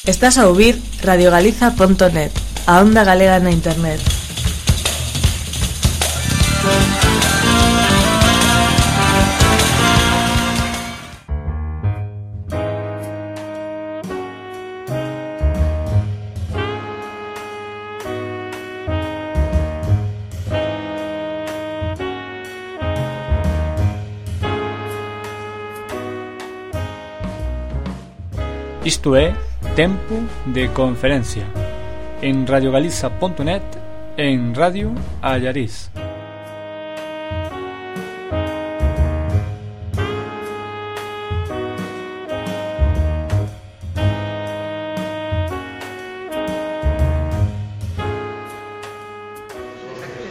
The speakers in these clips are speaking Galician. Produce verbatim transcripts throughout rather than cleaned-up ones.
Estás a ouvir radio galiza punto net, a onda galega na internet. Isto é Tempo de Conferencia en radio galiza punto net e en Radio Allariz.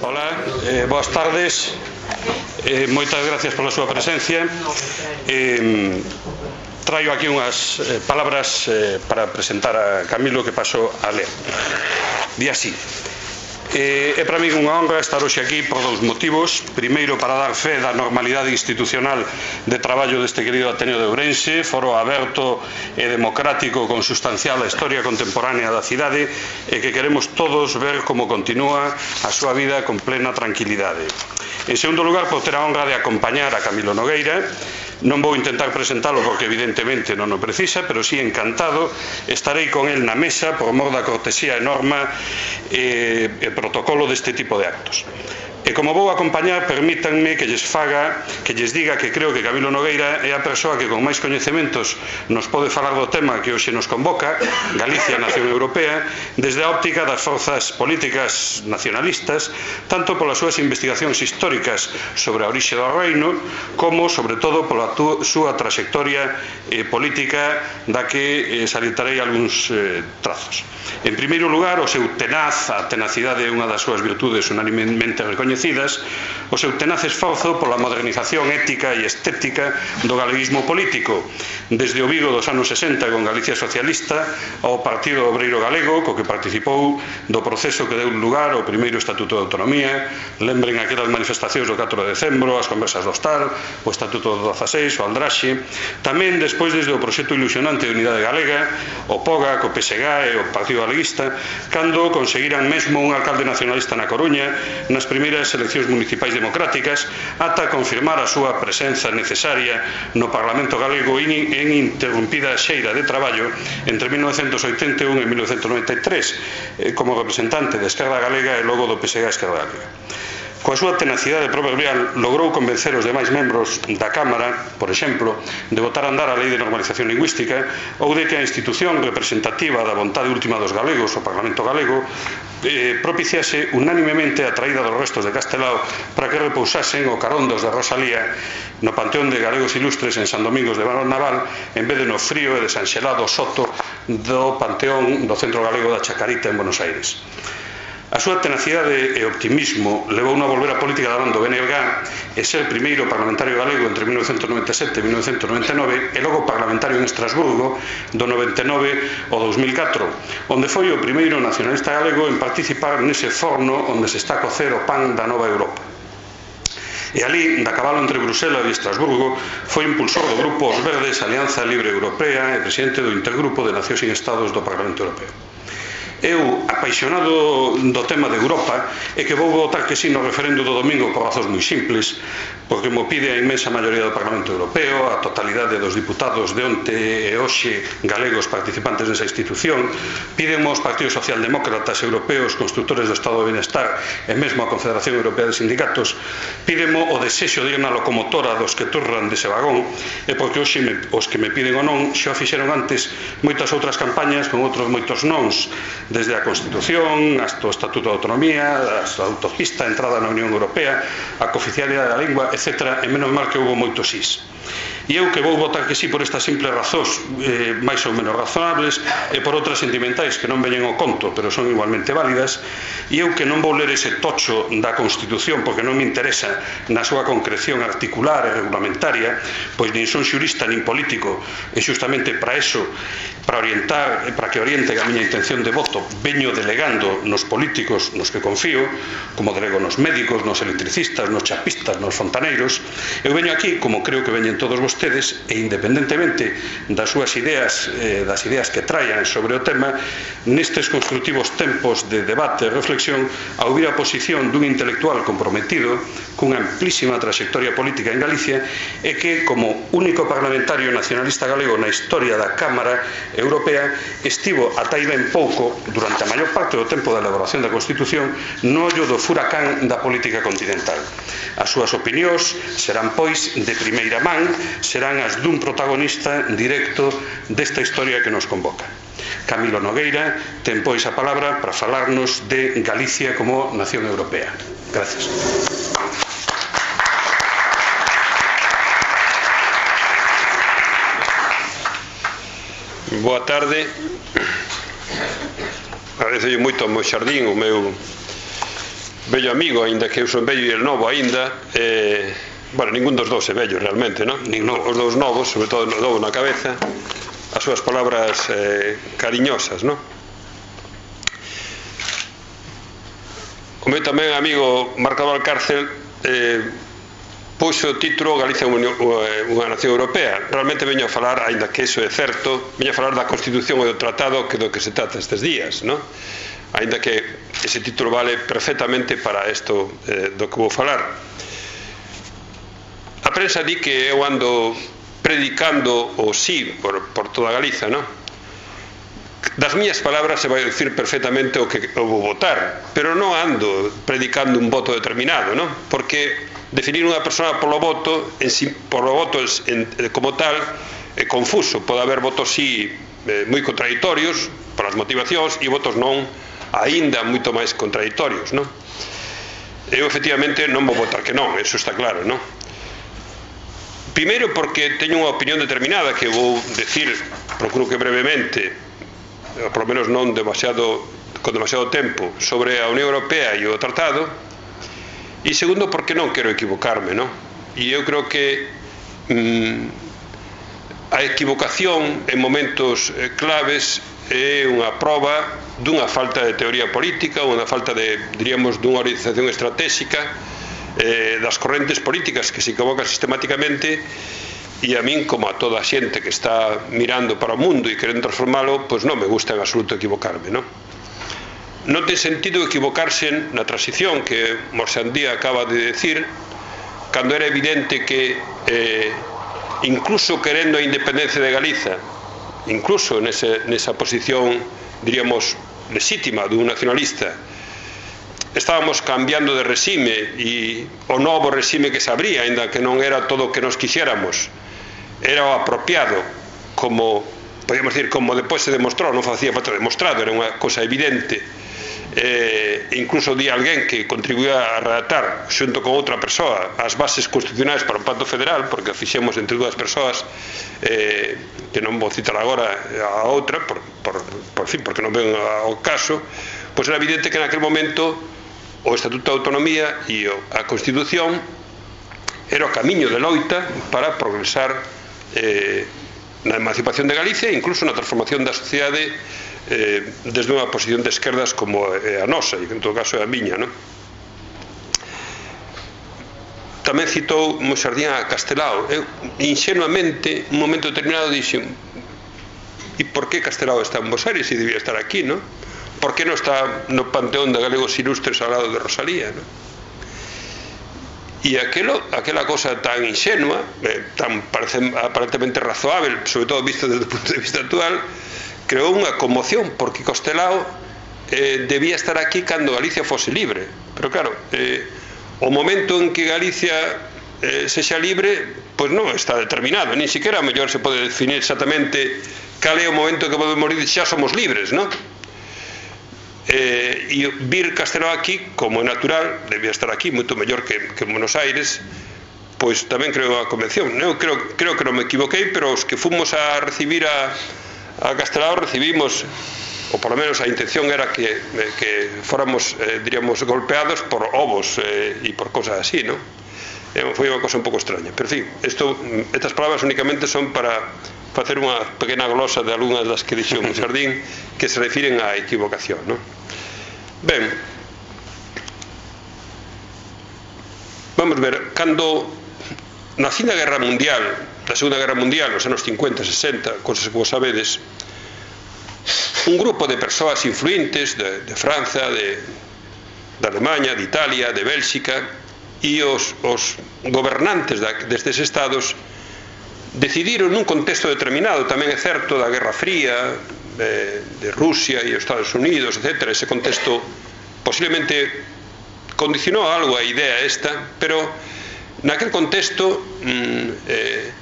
Hola, eh, boas tardes, eh, moitas gracias pola súa presencia. eh, Traio aquí unhas eh, palabras eh, para presentar a Camilo, que paso a ler. Di así: eh, É para mí unha honra estar hoxe aquí por dous motivos. Primeiro, para dar fe da normalidade institucional de traballo deste querido Ateneo de Ourense, foro aberto e democrático con sustancial a historia contemporánea da cidade, e que queremos todos ver como continúa a súa vida con plena tranquilidade. En segundo lugar, por ter a honra de acompañar a Camilo Nogueira. Non vou intentar presentalo porque evidentemente non o precisa, pero sí encantado estarei con el na mesa por mor da cortesía e norma e, e protocolo deste tipo de actos. E como vou acompañar, permítanme que lles faga, que lles diga que creo que Camilo Nogueira é a persoa que con máis coñecementos nos pode falar do tema que hoxe nos convoca, Galicia, Nación Europea, desde a óptica das forzas políticas nacionalistas, tanto polas súas investigacións históricas sobre a orixe do reino, como, sobre todo, pola súa trayectoria eh, política, da que eh, salientarei algúns eh, trazos. En primeiro lugar, o seu tenaz, a tenacidade é unha das súas virtudes unanimemente recoñecidas, o seu tenaz esforzo pola modernización ética e estética do galeguismo político, desde o Vigo dos anos sesenta con Galicia Socialista ao Partido Obreiro Galego, co que participou do proceso que deu lugar ao primeiro Estatuto de Autonomía. Lembren aquelas manifestacións do catro de decembro, as conversas do Hostal, o Estatuto do dezaseis, o Aldraxe. Tamén despois desde o proxecto ilusionante de Unidade Galega, o POGA, co P S G e o Partido Galeguista, cando conseguiran mesmo un alcalde nacionalista na Coruña nas primeiras eleccións municipais democráticas, ata confirmar a súa presenza necesaria no Parlamento galego en interrumpida xeira de traballo entre mil novecentos oitenta e un e mil novecentos noventa e tres como representante de Esquerda Galega e logo do P S G Esquerda Galega. Coa súa tenacidade proverbial logrou convencer os demais membros da Cámara, por exemplo, de botar a andar a Lei de Normalización Lingüística, ou de que a institución representativa da vontade última dos galegos, o Parlamento Galego, eh, propiciase unánimemente a traída dos restos de Castelao para que repousasen o carón dos de Rosalía no Panteón de Galegos Ilustres en San Domingos de Naval, en vez de no frío e desanxelado soto do Panteón do Centro Galego da Chacarita en Buenos Aires. A súa tenacidade e optimismo levou a volver á política da banda do B N G e ser primeiro parlamentario galego entre mil novecentos noventa e sete e mil novecentos noventa e nove e logo parlamentario en Estrasburgo do noventa e nove ao dous mil catro, onde foi o primeiro nacionalista galego en participar nese forno onde se está a cocer o pan da nova Europa. E ali, da cabalo entre Bruselas e Estrasburgo, foi impulsor do Grupo Os Verdes, Alianza Libre Europea, e presidente do Intergrupo de Nacións sin Estados do Parlamento Europeo. Eu, apaixonado do tema de Europa, e que vou votar que sí no referendo do domingo por razóns moi simples, porque mo pide a inmensa maioría do Parlamento Europeo, a totalidade dos diputados de onte e hoxe galegos participantes nesa institución, piden os partidos socialdemócratas europeos, constructores do Estado de Bienestar e mesmo a Confederación Europea de Sindicatos, piden o desexo de ir na locomotora dos que turran dese vagón, e porque hoxe me, os que me piden o non xa fixeron antes moitas outras campañas con outros moitos nons, desde a Constitución, hasta o Estatuto de Autonomía, hasta a autopista, a entrada na Unión Europea, a cooficialidade da lingua, etcétera, e menos mal que houve moitos sís. E eu que vou votar que sí por estas simples razóns eh, máis ou menos razonables e por outras sentimentais que non veñen ao conto, pero son igualmente válidas, e eu que non vou ler ese tocho da Constitución porque non me interesa na súa concreción articular e regulamentaria, pois nin son xurista nin político, e xustamente para eso, para orientar, para que oriente a miña intención de voto, veño delegando nos políticos nos que confío, como delego nos médicos, nos electricistas, nos chapistas, nos fontaneiros. Eu veño aquí, como creo que veñen todos vos vostedes, e independentemente das súas ideas, eh, das ideas que traian sobre o tema, nestes construtivos tempos de debate e reflexión, a ouvir a posición dun intelectual comprometido cunha amplísima trayectoria política en Galicia e que, como único parlamentario nacionalista galego na historia da Cámara Europea, estivo ata aí ben pouco, durante a maior parte do tempo da elaboración da Constitución, no ollo do furacán da política continental. As súas opinións serán, pois, de primeira man, serán as dun protagonista directo desta historia que nos convoca. Camilo Nogueira ten, pois, a palabra para falarnos de Galicia como nación europea. Gracias. Boa tarde. Agradecelle moito ao meu xardín, o meu vello amigo, aínda que eu son vello e el novo aínda. eh, bueno, ningún dos dous é vello realmente, non? Os dous novos, sobre todo o novo na cabeza, as súas palabras eh, cariñosas, non? O meu tamén amigo Marco Valcárcel eh, puxo o título Galicia unha nación europea. Realmente veño a falar, aínda que iso é certo, veño a falar da Constitución e do Tratado, que do que se trata estes días, non? Aínda que ese título vale perfectamente para isto eh, do que vou falar. A prensa di que eu ando predicando o sí por, por toda Galiza, non? Das miñas palabras se vai dicir perfectamente o que eu vou votar, pero non ando predicando un voto determinado, non? Porque definir unha persona polo voto, en si, polo voto en, como tal, é confuso. Pode haber votos sí eh, moi contradictorios por as motivacións e votos non aínda moito máis contradictorios, non? Eu efectivamente non vou votar que non, eso está claro, non? Primeiro porque teño unha opinión determinada que vou decir, procuro que brevemente, por lo menos non demasiado, con demasiado tempo, sobre a Unión Europea e o Tratado. E segundo porque non quero equivocarme, non? E eu creo que mm, a equivocación en momentos eh, claves é unha proba dunha falta de teoría política, unha falta de, diríamos, dunha orientación estratégica eh, das correntes políticas que se equivocan sistemáticamente. E a min, como a toda a xente que está mirando para o mundo e querendo transformalo, pois non me gusta en absoluto equivocarme, non? Non ten sentido equivocarse na transición que Morsandía acaba de decir, cando era evidente que eh, incluso querendo a independencia de Galiza, incluso nese, nesa posición, diríamos, legítima dun nacionalista, estábamos cambiando de regime e o novo regime que se abría, ainda que non era todo o que nos quixéramos, era o apropiado, como, podíamos decir, como depois se demostrou, non facía falta demostrado, era unha cosa evidente. Eh, incluso di alguén que contribuía a redactar xunto con outra persoa as bases constitucionais para o Pacto Federal, porque o fixemos entre dúas persoas, eh, que non vou citar agora a outra por, por, por fin, porque non ven ao caso. Pois era evidente que naquele momento o Estatuto de Autonomía e a Constitución era o camiño de loita para progresar eh, na emancipación de Galicia e incluso na transformación da sociedade eh, desde unha posición de esquerdas como é a nosa, e en todo caso é a miña, non? Tamén citou Moixardín a Castelao. Eu, ingenuamente, un momento determinado dixen: e por que Castelao está en Bos Aires e debía estar aquí, non? Por que non está no panteón de galegos ilustres ao lado de Rosalía, non? E aquelo, aquela cosa tan ingenua, eh, tan parece, aparentemente razoável, sobre todo visto desde o punto de vista actual, creou unha conmoción, porque Castelao eh, debía estar aquí cando Galicia fose libre. Pero claro, eh, o momento en que Galicia eh, sexa libre, pois non está determinado, nin siquiera a mellor se pode definir exactamente cal é o momento que podemos morir, xa somos libres, non? Eh, e vir Castelao aquí, como é natural, debía estar aquí moito mellor que, que en Buenos Aires, pois tamén creo a convención. Eu creo, creo que non me equivoquei, pero os que fomos a recibir a, a Castelao recibimos, ou por lo menos a intención era que, que fóramos, eh, diríamos, golpeados por ovos eh, e por cosas así, non? Eh, foi unha cosa un pouco extraña. Pero, en fin, esto, estas palabras únicamente son para facer unha pequena glosa de algunhas das que dixo Moixardín que se refiren á equivocación, non? Ben, vamos ver, cando na Segunda Guerra Mundial da Segunda Guerra Mundial, nos anos cincuenta, sesenta, cosas que vos sabedes, un grupo de persoas influentes de, de França, de, de Alemanha, de Italia, de Bélxica, e os, os gobernantes da, destes estados decidiron nun contexto determinado, tamén é certo, da Guerra Fría, de, de Rusia e Estados Unidos, etcétera. Ese contexto posiblemente condicionou algo a idea esta, pero naquel contexto mm, eh,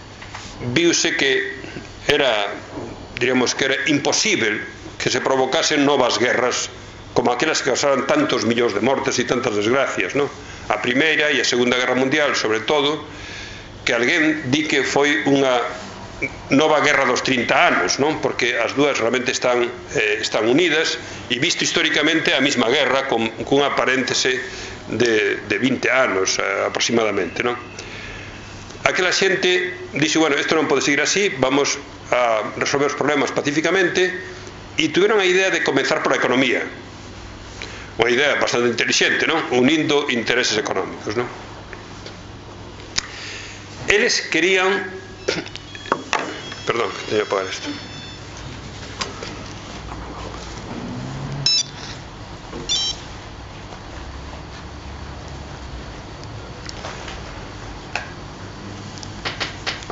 viuse que era, diríamos que era imposible que se provocasen novas guerras como aquelas que causaran tantos millóns de mortes e tantas desgracias, ¿no? A Primeira e a Segunda Guerra Mundial, sobre todo, que alguén di que foi unha nova guerra dos trinta anos, non? Porque as dúas realmente están, eh, están unidas, e visto históricamente a mesma guerra con, con unha paréntese de, de vinte anos eh, aproximadamente, non? Aquela xente dixe, bueno, isto non pode seguir así, vamos a resolver os problemas pacíficamente, e tuveron a idea de comenzar por a economía, unha idea bastante inteligente, non? Unindo intereses económicos, non? Eles querían perdón, que teño que apagar isto.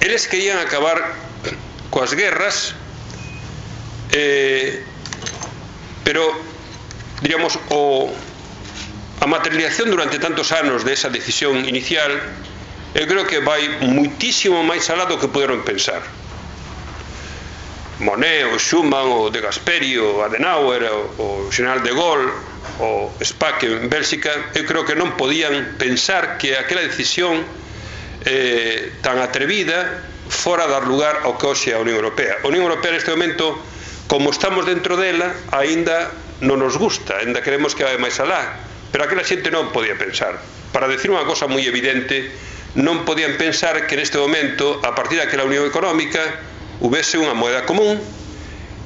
Eles querían acabar coas guerras, eh, pero diríamos o, a materialización durante tantos anos de esa decisión inicial, eu creo que vai muitísimo máis alá do que poderon pensar. Monet, o Schuman, o de Gasperi, o Adenauer, o, o General de Gaulle, o Spaak en Bélxica, eu creo que non podían pensar que aquela decisión eh, tan atrevida fora dar lugar ao que hoxe é a Unión Europea. A Unión Europea neste momento, como estamos dentro dela, aínda non nos gusta, aínda queremos que vai máis alá, pero aquela xente non podía pensar. Para decir unha cosa moi evidente, non podían pensar que neste momento, a partir daquela Unión Económica, houvese unha moeda común,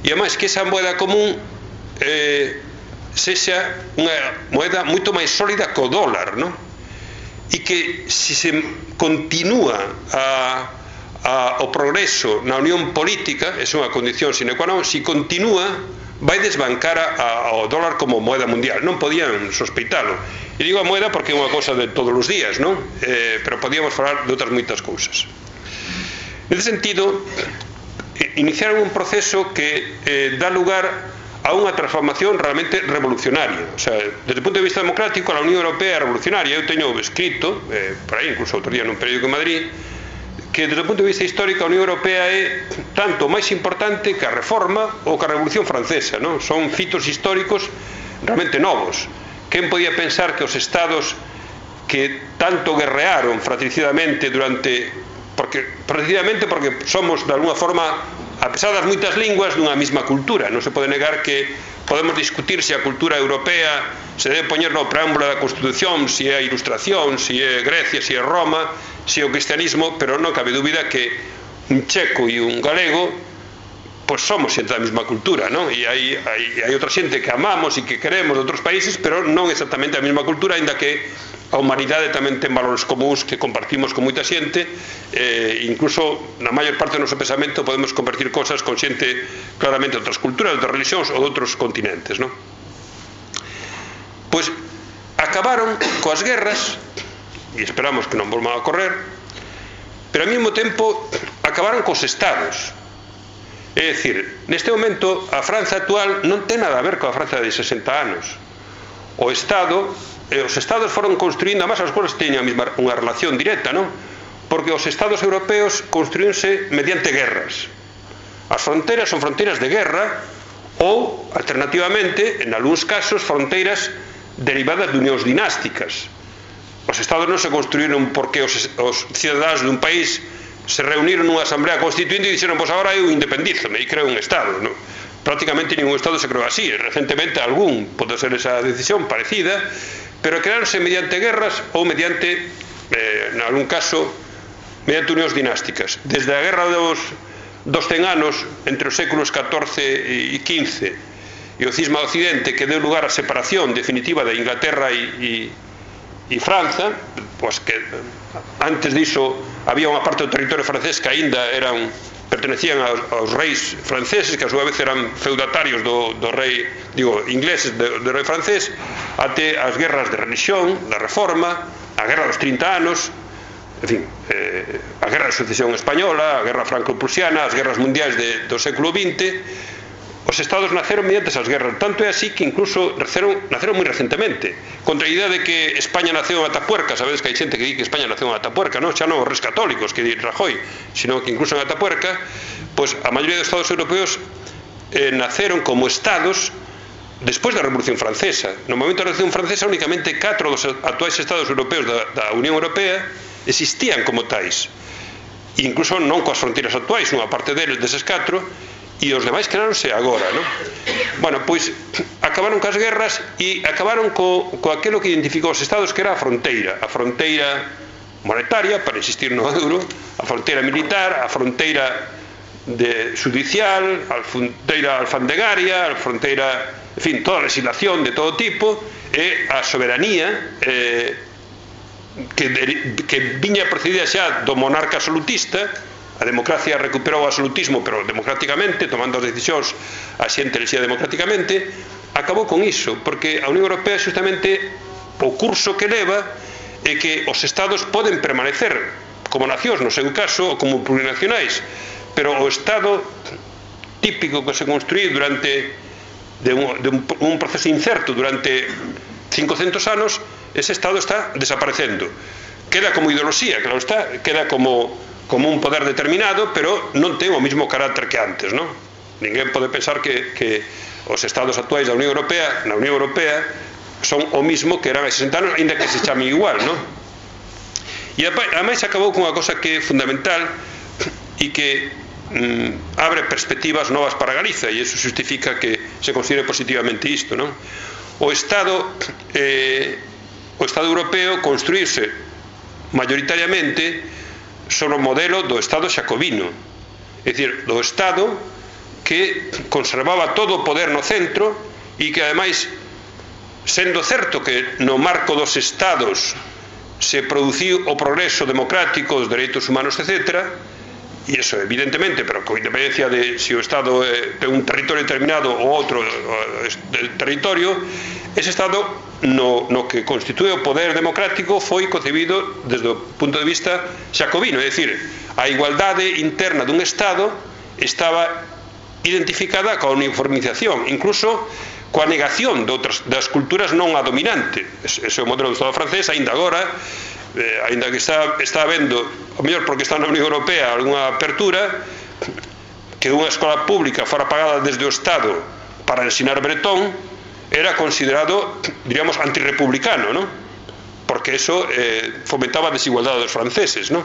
e ademais que esa moeda común eh, sexa unha moeda moito máis sólida que o dólar, non? E que se se continúa a, a, o progreso na unión política, é unha condición sine qua non, se continúa vai desbancar a, ao dólar como moeda mundial. Non podían sospeitalo. E digo a moeda porque é unha cousa de todos os días, non? Eh, pero podíamos falar de outras moitas cousas. Nesse sentido, iniciaron un proceso que eh, dá lugar a unha transformación realmente revolucionaria. O sea, desde o punto de vista democrático, a Unión Europea é revolucionaria. Eu teño escrito, eh, por aí, incluso outro día nun periódico en Madrid, que desde o punto de vista histórico a Unión Europea é tanto máis importante que a Reforma ou que a Revolución Francesa, non? Son fitos históricos realmente novos. Quen podía pensar que os estados que tanto guerrearon fratricidamente durante... porque precisamente porque somos de alguna forma, a pesar das moitas linguas, dunha mesma cultura. Non se pode negar que podemos discutir se a cultura europea se debe poñer no preámbulo da Constitución, se é a Ilustración, se é Grecia, se é Roma, se é o cristianismo, pero non cabe dúbida que un checo e un galego pois somos xente da mesma cultura, non? E hai, hai, hai outra xente que amamos e que queremos de outros países, pero non exactamente a mesma cultura, ainda que a humanidade tamén ten valores comuns que compartimos con moita xente, eh, incluso na maior parte do noso pensamento podemos compartir cosas con xente claramente de outras culturas, de outras religións ou de outros continentes, non? Pois acabaron coas guerras, e esperamos que non volvan a ocorrer, pero ao mesmo tempo acabaron cos estados. É dicir, neste momento a França actual non ten nada a ver coa França de sesenta anos. O Estado, eh, os Estados foron construindo, además as cousas teñen unha relación directa, non? Porque os Estados europeos construínse mediante guerras. As fronteiras son fronteiras de guerra ou, alternativamente, en algúns casos, fronteiras derivadas de unións dinásticas. Os Estados non se construíron porque os, os cidadáns dun país se reuniron nunha asamblea constituinte e dixeron, pois agora eu independízome e creo un Estado, non? Prácticamente ningún Estado se creou así. Recentemente algún pode ser esa decisión parecida, pero creáronse mediante guerras ou mediante, eh, en algún caso, mediante unións dinásticas. Desde a guerra dos, dos cen anos, entre os séculos catorce e quince, e o cisma do Occidente, que deu lugar á separación definitiva de Inglaterra e, e, e França, pois que antes diso había unha parte do territorio francés que aínda eran pertenecían aos, aos reis franceses, que a súa vez eran feudatarios do, do rei, digo, ingleses do, do rei francés, até as guerras de religión, da reforma, a guerra dos trinta anos, en fin, eh, a guerra de sucesión española, a guerra franco-prusiana, as guerras mundiais de, do século vinte. Os estados naceron mediante esas guerras, tanto é así que incluso naceron, naceron moi recentemente, contra a idea de que España naceu en Atapuerca. Sabedes que hai xente que di que España naceu en Atapuerca, non? Xa non os res católicos que di Rajoy, sino que incluso en Atapuerca, pois a maioría dos estados europeos eh, naceron como estados despois da Revolución Francesa. No momento da Revolución Francesa únicamente catro dos actuais estados europeos da, da Unión Europea existían como tais, e incluso non coas fronteiras actuais, unha parte deles, deses catro, e os demais quedaronse agora, non? Bueno, pois acabaron cas guerras e acabaron co, co aquilo que identificou os estados, que era a fronteira, a fronteira monetaria, para insistir no euro, a fronteira militar, a fronteira de judicial, a fronteira alfandegaria, a fronteira, en fin, toda a legislación de todo tipo, e a soberanía eh, que, de, que viña procedida xa do monarca absolutista. A democracia recuperou o absolutismo, pero democráticamente, tomando as decisións a xente elexía democráticamente. Acabou con iso, porque a Unión Europea justamente o curso que leva é que os estados poden permanecer como nacións, no seu caso, ou como plurinacionais, pero o estado típico que se construí durante de un, de un, un proceso incerto durante cincocentos anos, ese estado está desaparecendo. Queda como ideoloxía, claro está, queda como como un poder determinado, pero non ten o mesmo carácter que antes, non? Ninguén pode pensar que, que os estados actuais da Unión Europea, na Unión Europea, son o mismo que eran hai sesenta anos, ainda que se chame igual, non? E ademais acabou con unha cosa que é fundamental e que mm, abre perspectivas novas para Galiza, e iso justifica que se considere positivamente isto, non? O Estado eh, o Estado europeo construírse mayoritariamente sobre o modelo do Estado xacobino, é dicir, do Estado que conservaba todo o poder no centro e que ademais, sendo certo que no marco dos Estados se produciu o progreso democrático, os dereitos humanos, etcétera, e iso evidentemente, pero con independencia de se o Estado é un territorio determinado ou outro territorio, ese Estado no, no que constitúe o poder democrático foi concebido desde o punto de vista xacobino, é dicir, a igualdade interna dun Estado estaba identificada coa uniformización, incluso coa negación de outras, das culturas non a dominante. Ese é o modelo do Estado francés, aínda agora, eh, aínda que está, está habendo, o mellor porque está na Unión Europea, algunha apertura, que unha escola pública fora pagada desde o Estado para ensinar bretón, era considerado, diríamos, antirrepublicano, ¿no? Porque eso eh, fomentaba a desigualdade dos franceses, ¿no?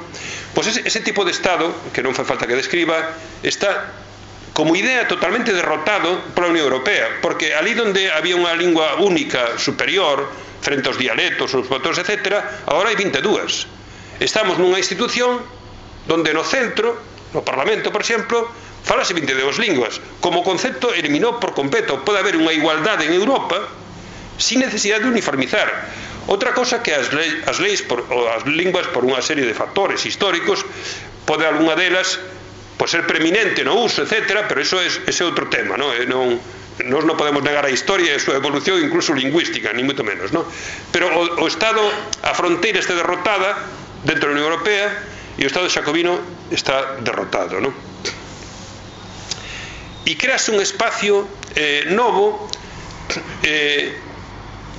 Pois ese, ese tipo de Estado, que non fai falta que describa, está como idea totalmente derrotado pola Unión Europea, porque ali onde había unha lingua única superior frente aos dialectos, aos factores, etcétera, agora hai vinte e dúas. Estamos nunha institución donde no centro, no Parlamento, por exemplo, falase vinte e dúas linguas. Como concepto eliminou por completo. Pode haber unha igualdade en Europa sin necesidade de uniformizar. Outra cosa que as leis, as leis por, ou as linguas, por unha serie de factores históricos, pode algunha delas pode ser preeminente no uso, etcétera, pero eso é ese outro tema, non? E non nós non podemos negar a historia e a súa evolución, incluso lingüística, ni moito menos, non? Pero o, o Estado, a fronteira está derrotada dentro da Unión Europea e o Estado xacobino está derrotado, non? E crease un espacio eh, novo eh,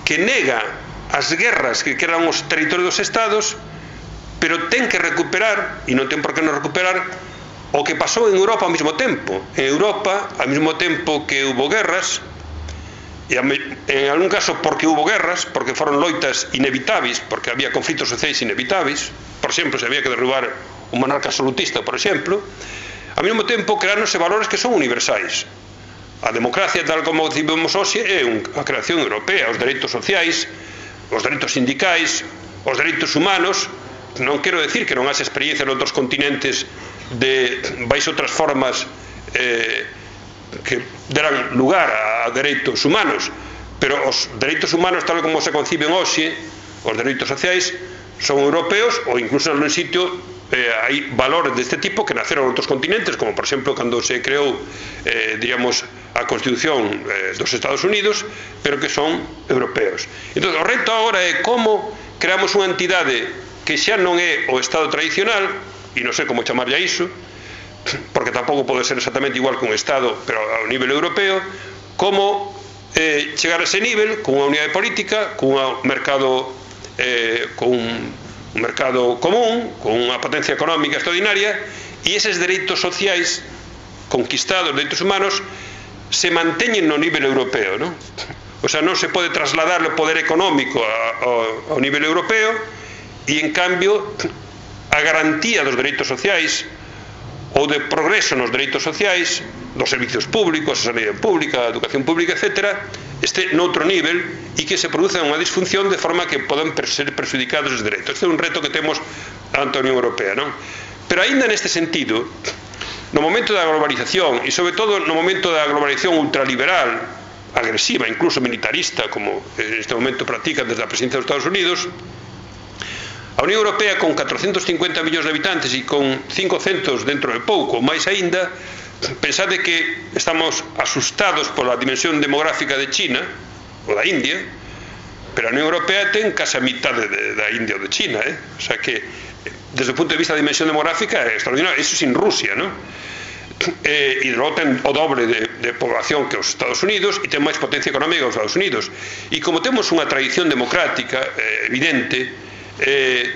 que nega as guerras que quedan os territorios dos Estados, pero ten que recuperar, e non ten por que non recuperar, o que pasou en Europa ao mesmo tempo. En Europa, ao mesmo tempo que hubo guerras, e en algún caso porque hubo guerras, porque foron loitas inevitables, porque había conflitos sociais inevitables, por exemplo, se había que derrubar un monarca absolutista, por exemplo, ao mesmo tempo creáronse valores que son universais. A democracia, tal como concibimos hoxe, é a creación europea, os dereitos sociais, os dereitos sindicais, os dereitos humanos. Non quero decir que non haxe experiencia en outros continentes de baixo outras formas eh, que deran lugar a dereitos humanos, pero os dereitos humanos tal como se conciben hoxe, os dereitos sociais, son europeos ou incluso en un sitio eh, hai valores deste tipo que naceron en outros continentes, como por exemplo cando se creou eh, diríamos, a Constitución eh, dos Estados Unidos, pero que son europeos. Entón, o reto agora é como creamos unha entidade que xa non é o Estado tradicional, e non sei como chamarlle a iso, porque tampouco pode ser exactamente igual que un Estado, pero ao nivel europeo, como eh, chegar a ese nivel con unha unidade política, con un mercado eh, con un mercado común, con unha potencia económica extraordinaria, e eses dereitos sociais conquistados, dereitos humanos, se manteñen no nivel europeo, non? O sea, non se pode trasladar o poder económico ao, ao nivel europeo, e en cambio a garantía dos dereitos sociais ou de progreso nos dereitos sociais, dos servicios públicos, a sanidade pública, a educación pública, etcétera, este noutro nivel e que se produza unha disfunción de forma que poden ser perjudicados os dereitos. Este é un reto que temos ante a Unión Europea, non? Pero aínda neste sentido, no momento da globalización e sobre todo no momento da globalización ultraliberal, agresiva, incluso militarista, como en este momento practican desde a presidencia dos Estados Unidos, a Unión Europea con catrocentos cincuenta millóns de habitantes e con cincocentos dentro de pouco, máis aínda, pensade que estamos asustados pola dimensión demográfica de China ou da India, pero a Unión Europea ten case a mitade de, da India ou de China, eh? O sea que desde o punto de vista da dimensión demográfica é extraordinario, iso sin Rusia, non? Eh, e logo ten o doble de, de población que os Estados Unidos e ten máis potencia económica que os Estados Unidos, e como temos unha tradición democrática eh, evidente eh,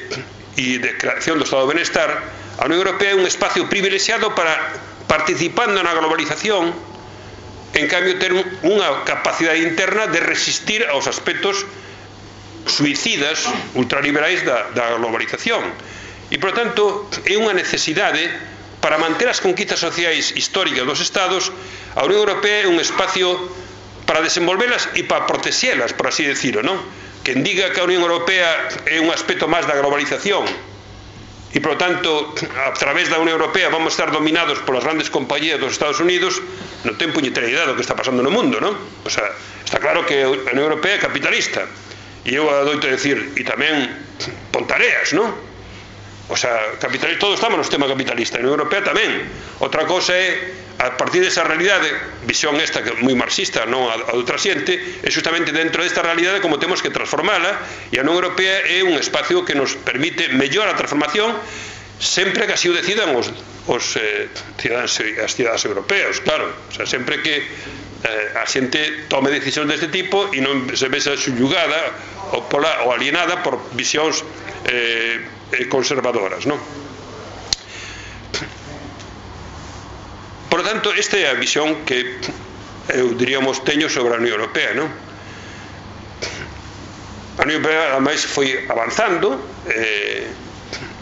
e de creación do estado de benestar, a Unión Europea é un espacio privilexiado para, participando na globalización, en cambio ter un, unha capacidade interna de resistir aos aspectos suicidas, ultraliberais da, da globalización. E, por tanto, é unha necesidade para manter as conquistas sociais históricas dos Estados. A Unión Europea é un espacio para desenvolvelas e para protexelas, por así decirlo, non? Quen diga que a Unión Europea é un aspecto máis da globalización e, por tanto, a través da Unión Europea vamos a estar dominados polas grandes compañías dos Estados Unidos, non ten puñetera idea do que está pasando no mundo, non? O sea, está claro que a Unión Europea é capitalista, e eu adoito decir, e tamén pontareas, non? O sea, capitalista, todos estamos no sistema capitalista, a Unión Europea tamén. Outra cosa é, a partir desa realidade, visión esta que é moi marxista, non a, a outra xente, é justamente dentro desta realidade como temos que transformala, e a Unión Europea é un espacio que nos permite mellor a transformación, sempre que así o decidan os, os eh, cidadáns e as cidadás europeos, claro. O sea, sempre que eh, a xente tome decisións deste tipo e non se vexa subyugada ou, pola, ou alienada por visións eh, conservadoras, non? Por lo tanto, esta é a visión que eu diríamos teño sobre a Unión Europea, non? A Unión Europea ademais foi avanzando eh,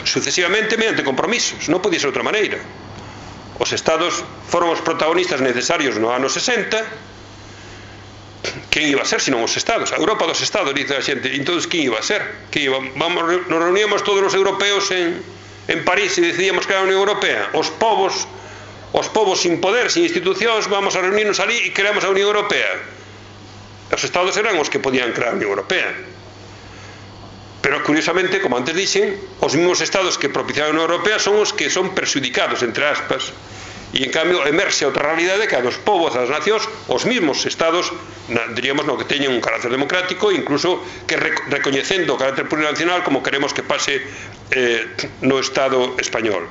sucesivamente mediante compromisos, non podía ser outra maneira. Os Estados foron os protagonistas necesarios no ano sesenta. Quen iba a ser, senón os Estados? A Europa dos Estados, dice a xente. Entón, quen iba a ser? Que iba? Vamos, nos reuníamos todos os europeos en, en París e decidíamos crear a Unión Europea. Os povos, os povos sin poder, sin institucións, vamos a reunirnos ali e creamos a Unión Europea. Os Estados eran os que podían crear a Unión Europea. Pero, curiosamente, como antes dixen, os mesmos Estados que propiciaron a Unión Europea son os que son perxudicados, entre aspas, e, en cambio, emerxe outra realidade que a dos povos, das nacións, os mesmos Estados, diríamos, no que teñen un carácter democrático, incluso que recoñecendo o carácter plurinacional como queremos que pase eh, no Estado español.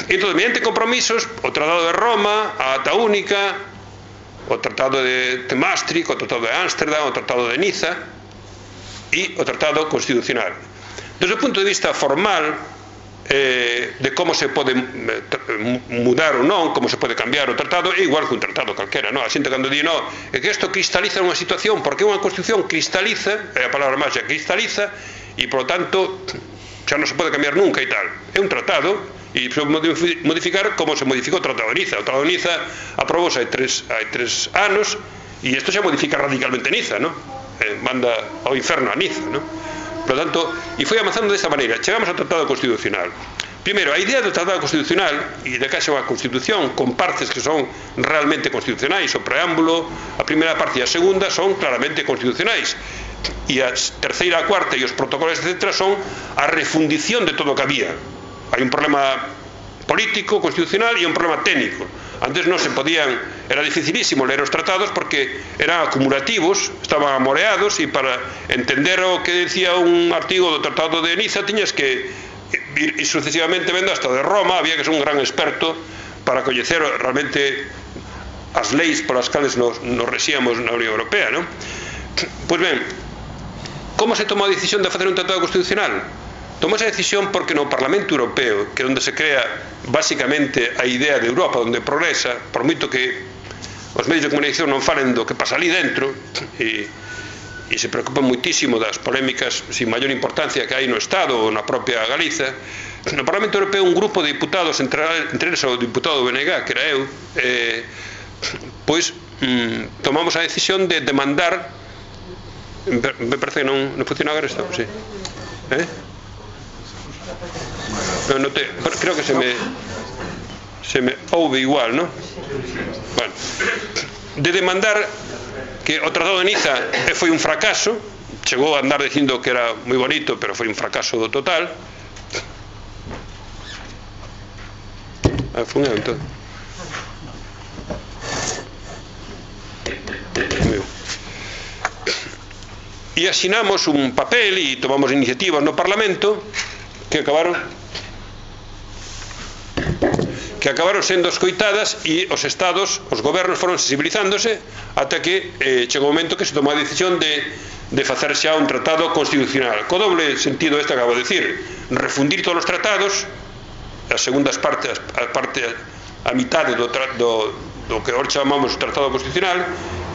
Entón, mediante compromisos, o Tratado de Roma, a Ata Única, o Tratado de Maastricht, o Tratado de Ámsterdam, o Tratado de Niza e o Tratado Constitucional. Desde o punto de vista formal, Eh, de como se pode mudar ou non, como se pode cambiar o tratado, é igual que un tratado calquera, non? A xente cando di, non, é que isto cristaliza unha situación, porque unha constitución cristaliza, é a palabra máxica, cristaliza, e, por lo tanto, xa non se pode cambiar nunca e tal. É un tratado, e se modificar como se modificou o Tratado de Niza. O Tratado de Niza aprobouse hai tres, hai tres anos, e isto xa modifica radicalmente Niza, non? Eh, manda ao inferno a Niza, non? Por lo tanto, e foi avanzando desta maneira. Chegamos ao Tratado Constitucional. Primeiro, a idea do Tratado Constitucional, e de caixa unha Constitución con partes que son realmente constitucionais, o preámbulo, a primeira parte e a segunda son claramente constitucionais, e a terceira, a cuarta e os protocolos, etcétera, son a refundición de todo o que había. hai un problema político, constitucional e un problema técnico. Antes non se podían, era dificilísimo ler os tratados porque eran acumulativos, estaban amoreados, e para entender o que decía un artigo do Tratado de Niza tiñas que ir sucesivamente vendo hasta de Roma, había que ser un gran experto para coñecer realmente as leis polas cales nos, nos resíamos na Unión Europea, non? Pois ben, como se tomou a decisión de facer un tratado constitucional? Tomou esa decisión porque no Parlamento Europeo, que é onde se crea basicamente a idea de Europa, onde progresa, por moito que os medios de comunicación non falen do que pasa ali dentro, e, e se preocupan muitísimo das polémicas sin maior importancia que hai no Estado ou na propia Galiza, no Parlamento Europeo un grupo de diputados, entre, entre eles o diputado do B N G, que era eu, eh, pois mm, tomamos a decisión de demandar, me parece que non, non funciona agora isto, sí. Eh? No, no te, creo que se me se me ouve igual, ¿no? Bueno, de demandar que o Tratado de Niza foi un fracaso, chegou a andar dicindo que era moi bonito, pero foi un fracaso total. Ah, foi un entón. E asinamos un papel e tomamos iniciativas no Parlamento que acabaron que acabaron sendo escoitadas, e os estados, os gobernos foron sensibilizándose ata que eh, chegou o momento que se tomou a decisión de, de facer xa un tratado constitucional, co doble sentido este acabo de decir, refundir todos os tratados, as segundas partes, a parte a mitade do, do, do que ahora chamamos tratado constitucional,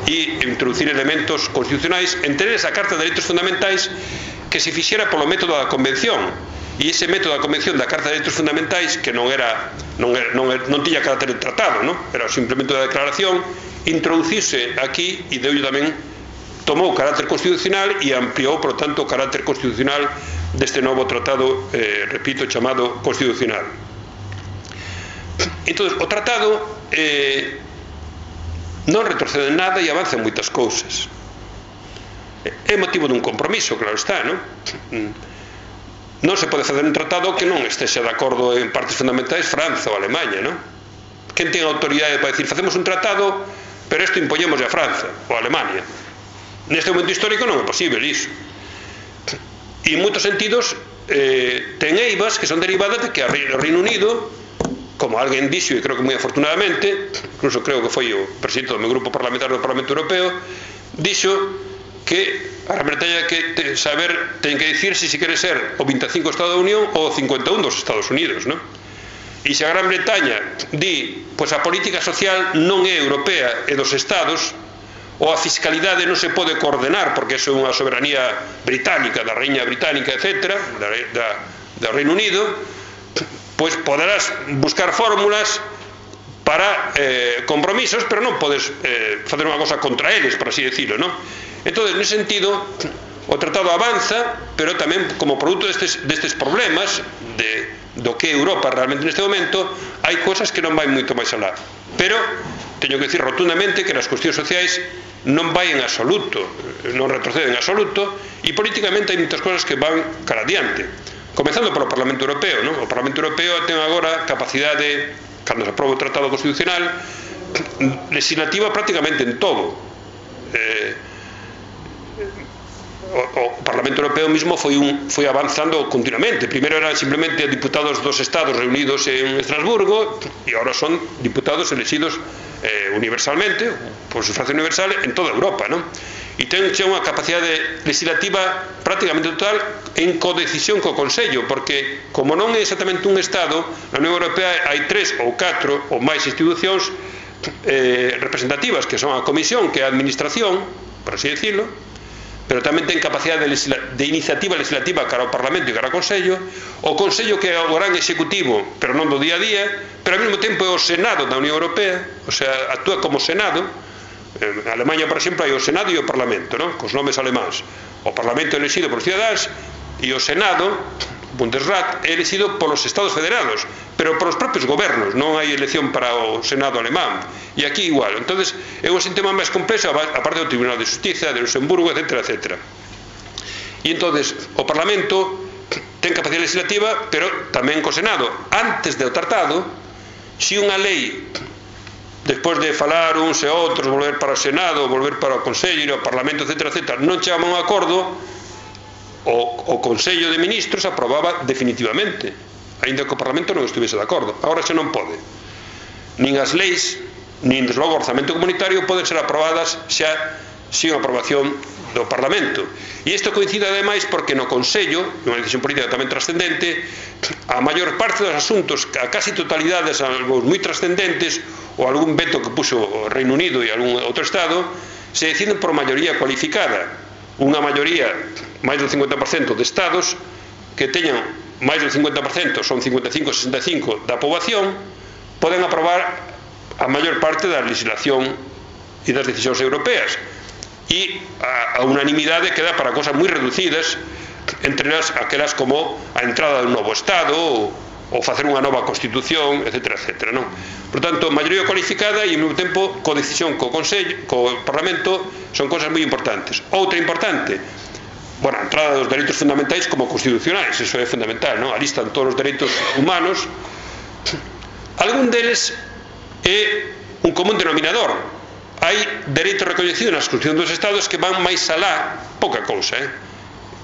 e introducir elementos constitucionais, entre eles a Carta de Dereitos Fundamentais, que se fixera polo método da Convención. E ese método da Convención da Carta de Dereitos Fundamentais, que non era non, era, non, era, non tiña carácter de tratado, non? Era simplemente unha declaración, introducirse aquí e deu tamén tomou carácter constitucional e ampliou, por tanto, o carácter constitucional deste novo tratado, eh, repito, chamado constitucional. Entón, o tratado eh, non retrocede en nada e avanza en moitas cousas. É motivo dun compromiso, claro está, non? Non se pode facer un tratado que non estexa de acordo en partes fundamentais Franza ou Alemanha, non? Quen ten autoridade para decir facemos un tratado, pero isto impoñemos a Franza ou a Alemania? Neste momento histórico non é posible iso. E en moitos sentidos eh, ten eivas que son derivadas de que o Reino Unido, como alguén dixo, e creo que moi afortunadamente, incluso creo que foi o presidente do meu grupo parlamentario do Parlamento Europeo, dixo que a Gran Bretaña que te, saber ten que dicir se si quere ser o vinte e cinco Estado da Unión ou o cincuenta e un dos Estados Unidos, non? E se a Gran Bretaña di, pois a política social non é europea, é dos Estados, ou a fiscalidade non se pode coordenar porque é unha soberanía británica, da Reina Británica, etcétera, da, da, do Reino Unido, pois poderás buscar fórmulas para eh, compromisos, pero non podes eh, facer unha cosa contra eles, por así decirlo, non? Entón, nese sentido, o tratado avanza, pero tamén como produto destes, destes problemas de, do que é Europa realmente neste momento, hai cosas que non vai moito máis alá. Pero, teño que decir rotundamente que nas cuestións sociais non vai en absoluto, non retroceden en absoluto, e políticamente hai moitas cosas que van cara adiante. Comezando polo Parlamento Europeo, non? O Parlamento Europeo ten agora capacidade, cando se aproba o Tratado Constitucional, legislativa prácticamente en todo. Eh, O, o Parlamento Europeo mismo foi, un, foi avanzando continuamente. Primeiro eran simplemente diputados dos Estados reunidos en Estrasburgo e agora son diputados elegidos eh, universalmente, por sufragio universal, en toda Europa, non? E ten xa unha capacidade legislativa prácticamente total en codecisión co Consello, porque como non é exactamente un Estado, na Unión Europea hai tres ou catro ou máis institucións eh, representativas, que son a Comisión, que é a Administración, por así decirlo, pero tamén ten capacidade de, de iniciativa legislativa cara ao Parlamento e cara ao Consello, o Consello que é o gran executivo, pero non do día a día, pero ao mesmo tempo é o Senado da Unión Europea, o sea, actúa como Senado. En Alemanha, por exemplo, hai o Senado e o Parlamento, non? Cos nomes alemáns. O Parlamento é elegido por cidadáns e o Senado, Bundesrat, é elegido polos Estados Federados, pero polos propios gobernos, non hai elección para o Senado alemán. E aquí igual. Entonces é un sistema máis complexo, aparte do Tribunal de Justicia, de Luxemburgo, etcétera, etcétera. E entonces o Parlamento ten capacidade legislativa, pero tamén co Senado. Antes do tratado, se unha lei, despois de falar uns e outros, volver para o Senado, volver para o Consello, o Parlamento, etcétera, etcétera, non chegaba a un acordo, o, o Consello de Ministros aprobaba definitivamente, aínda que o Parlamento non estivese de acordo. Agora xa non pode. Nin as leis, nin desde logo o orzamento comunitario poden ser aprobadas xa sin aprobación do Parlamento. E isto coincide ademais porque no Consello, unha decisión política tamén trascendente, a maior parte dos asuntos, a casi totalidades, algo moi trascendentes, ou algún veto que puxo o Reino Unido e algún outro Estado, se deciden por maioría cualificada. Unha maioría, máis do cincuenta por cento de Estados, que teñan máis do cincuenta por cento, son cincuenta e cinco a sesenta e cinco da poboación, poden aprobar a maior parte da legislación e das decisións europeas. E a, a unanimidade queda para cosas moi reducidas, entre elas aquelas como a entrada dun novo Estado ou, ou facer unha nova Constitución, etcétera, etcétera, non? Por tanto, maioría cualificada e ao mesmo tempo codecisión co Consello, co Parlamento, son cosas moi importantes. Outra importante, bueno, a entrada dos dereitos fundamentais como constitucionais, eso é fundamental, non? Ali están todos os dereitos humanos. Algún deles é un común denominador. Hai dereitos recoñecidos nas Constitución dos Estados que van máis alá, pouca cousa, eh,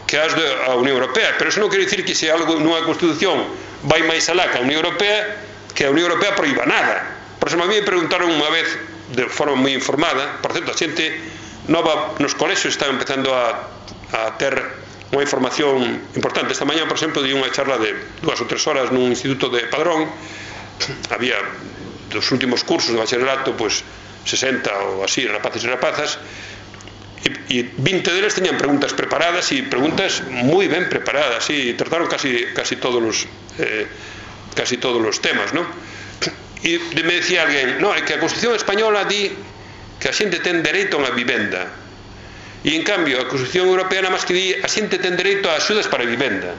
que as da Unión Europea, pero eso non quere dicir que se algo nunha Constitución vai máis alá que a Unión Europea, que a Unión Europea proíba nada. Por exemplo, a mí me preguntaron unha vez, de forma moi informada, por certo, a xente nova nos colexios está empezando a, a ter unha información importante. Esta mañá, por exemplo, di unha charla de dúas ou tres horas nun instituto de Padrón. Había dos últimos cursos de bacharelato, pois, sesenta ou así, rapaces e rapazas, e, e vinte deles teñan preguntas preparadas e preguntas moi ben preparadas, e trataron casi, casi todos os eh, casi todos os temas, non? E me decía alguén, non, é que a Constitución española di que a xente ten dereito a unha vivenda, e en cambio a Constitución europea nada máis que di a xente ten dereito a axudas para a vivenda.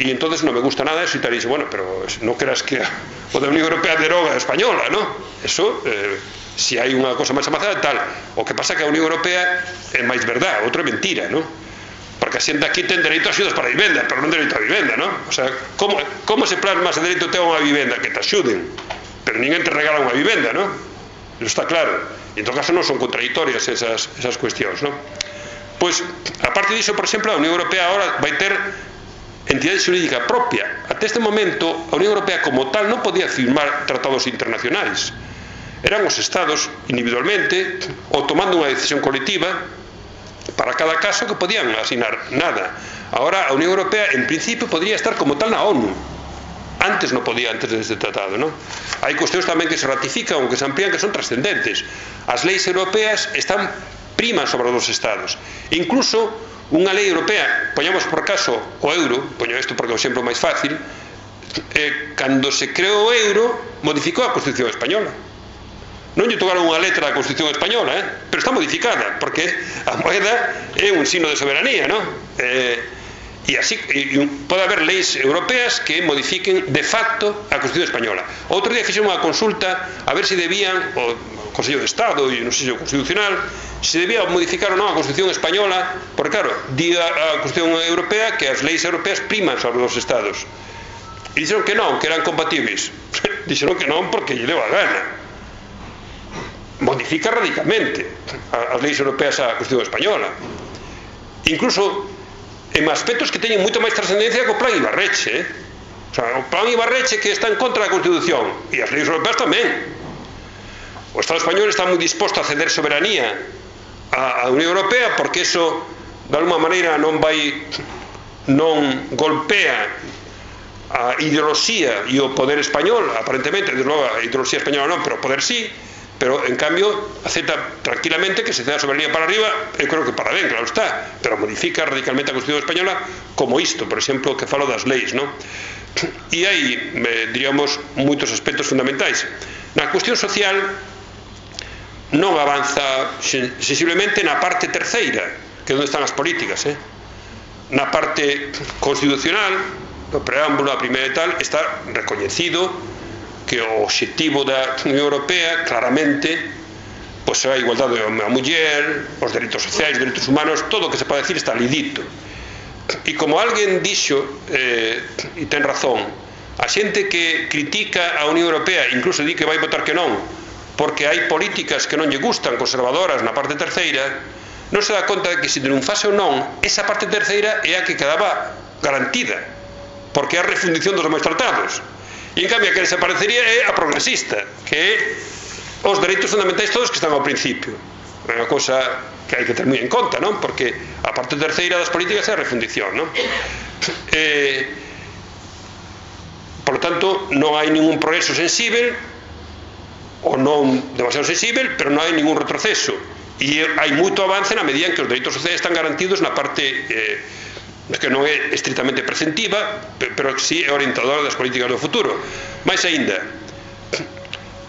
E entonces non me gusta nada eso, e tal, e dice, bueno, pero non creas que o da Unión Europea deroga a española, non? Eso, eh, se hai unha cosa máis avanzada, tal. O que pasa que a Unión Europea é máis verdad, outra é mentira, non? Porque a xente aquí ten dereito a axudas para a vivenda, pero non dereito a vivenda, non? O sea, como, como se plasma ese dereito a ter unha vivenda? Que te axuden, pero ninguén te regala unha vivenda, non? Eso está claro. E en todo caso non son contradictorias esas, esas cuestións, non? Pois, aparte diso, por exemplo, a Unión Europea agora vai ter entidade xurídica propia. Até este momento, a Unión Europea como tal non podía firmar tratados internacionais. Eran os Estados, individualmente, ou tomando unha decisión colectiva para cada caso que podían asinar nada. Agora, a Unión Europea, en principio, podría estar como tal na ONU. Antes non podía, antes deste tratado, non? Hai cuestións tamén que se ratifican ou que se amplían que son trascendentes. As leis europeas están primas sobre os Estados. Incluso unha lei europea, poñamos por caso o euro, poño isto porque é o exemplo máis fácil, eh, cando se creou o euro, modificou a Constitución española. Non lle tocaron unha letra da Constitución española, eh? Pero está modificada, porque a moeda é un signo de soberanía, non? Eh, e así, e pode haber leis europeas que modifiquen de facto a Constitución española. Outro día fixemos unha consulta a ver se debían, o Consello de Estado e non sei se o Constitucional, se debía modificar ou non a Constitución española, porque claro, di a Constitución europea que as leis europeas priman sobre os Estados. E dixeron que non, que eran compatibles. Dixeron que non porque lle deu a gana. Modifica radicalmente as leis europeas a Constitución española. Incluso en aspectos que teñen moito máis trascendencia que o plan Ibarreche, eh? O sea, o plan Ibarreche que está en contra da Constitución, e as leis europeas tamén. O Estado español está moi disposto a ceder soberanía á Unión Europea porque eso de alguma maneira non vai non golpea a ideoloxía e o poder español, aparentemente, desde logo a ideoloxía española non, pero o poder sí, pero en cambio acepta tranquilamente que se ceda a soberanía para arriba, eu creo que para ben, claro está, pero modifica radicalmente a Constitución española como isto, por exemplo, que falo das leis, non? E hai, diríamos, moitos aspectos fundamentais. Na cuestión social non avanza sensiblemente na parte terceira, que é onde están as políticas, eh? Na parte constitucional, no preámbulo, a primeira e tal, está recoñecido que o obxectivo da Unión Europea claramente pois é a igualdade da muller, os dereitos sociais, os dereitos humanos, todo o que se pode decir está ali dito. e como alguén dixo, eh, e ten razón, a xente que critica a Unión Europea, incluso di que vai votar que non, porque hai políticas que non lle gustan, conservadoras na parte terceira, non se dá conta de que se triunfase ou non, esa parte terceira é a que quedaba garantida, porque é a refundición dos demais tratados. E en cambio a que desaparecería é a progresista, que é os dereitos fundamentais todos que están ao principio. É unha cosa que hai que ter moi en conta, non? Porque a parte terceira das políticas é a refundición, non? Eh, por lo tanto, non hai ningún progreso sensible, ou non demasiado sensible, pero non hai ningún retroceso. E hai moito avance na medida en que os dereitos sociais están garantidos na parte eh, que non é estritamente preceptiva, pero que sí é orientadora das políticas do futuro. Mais aínda,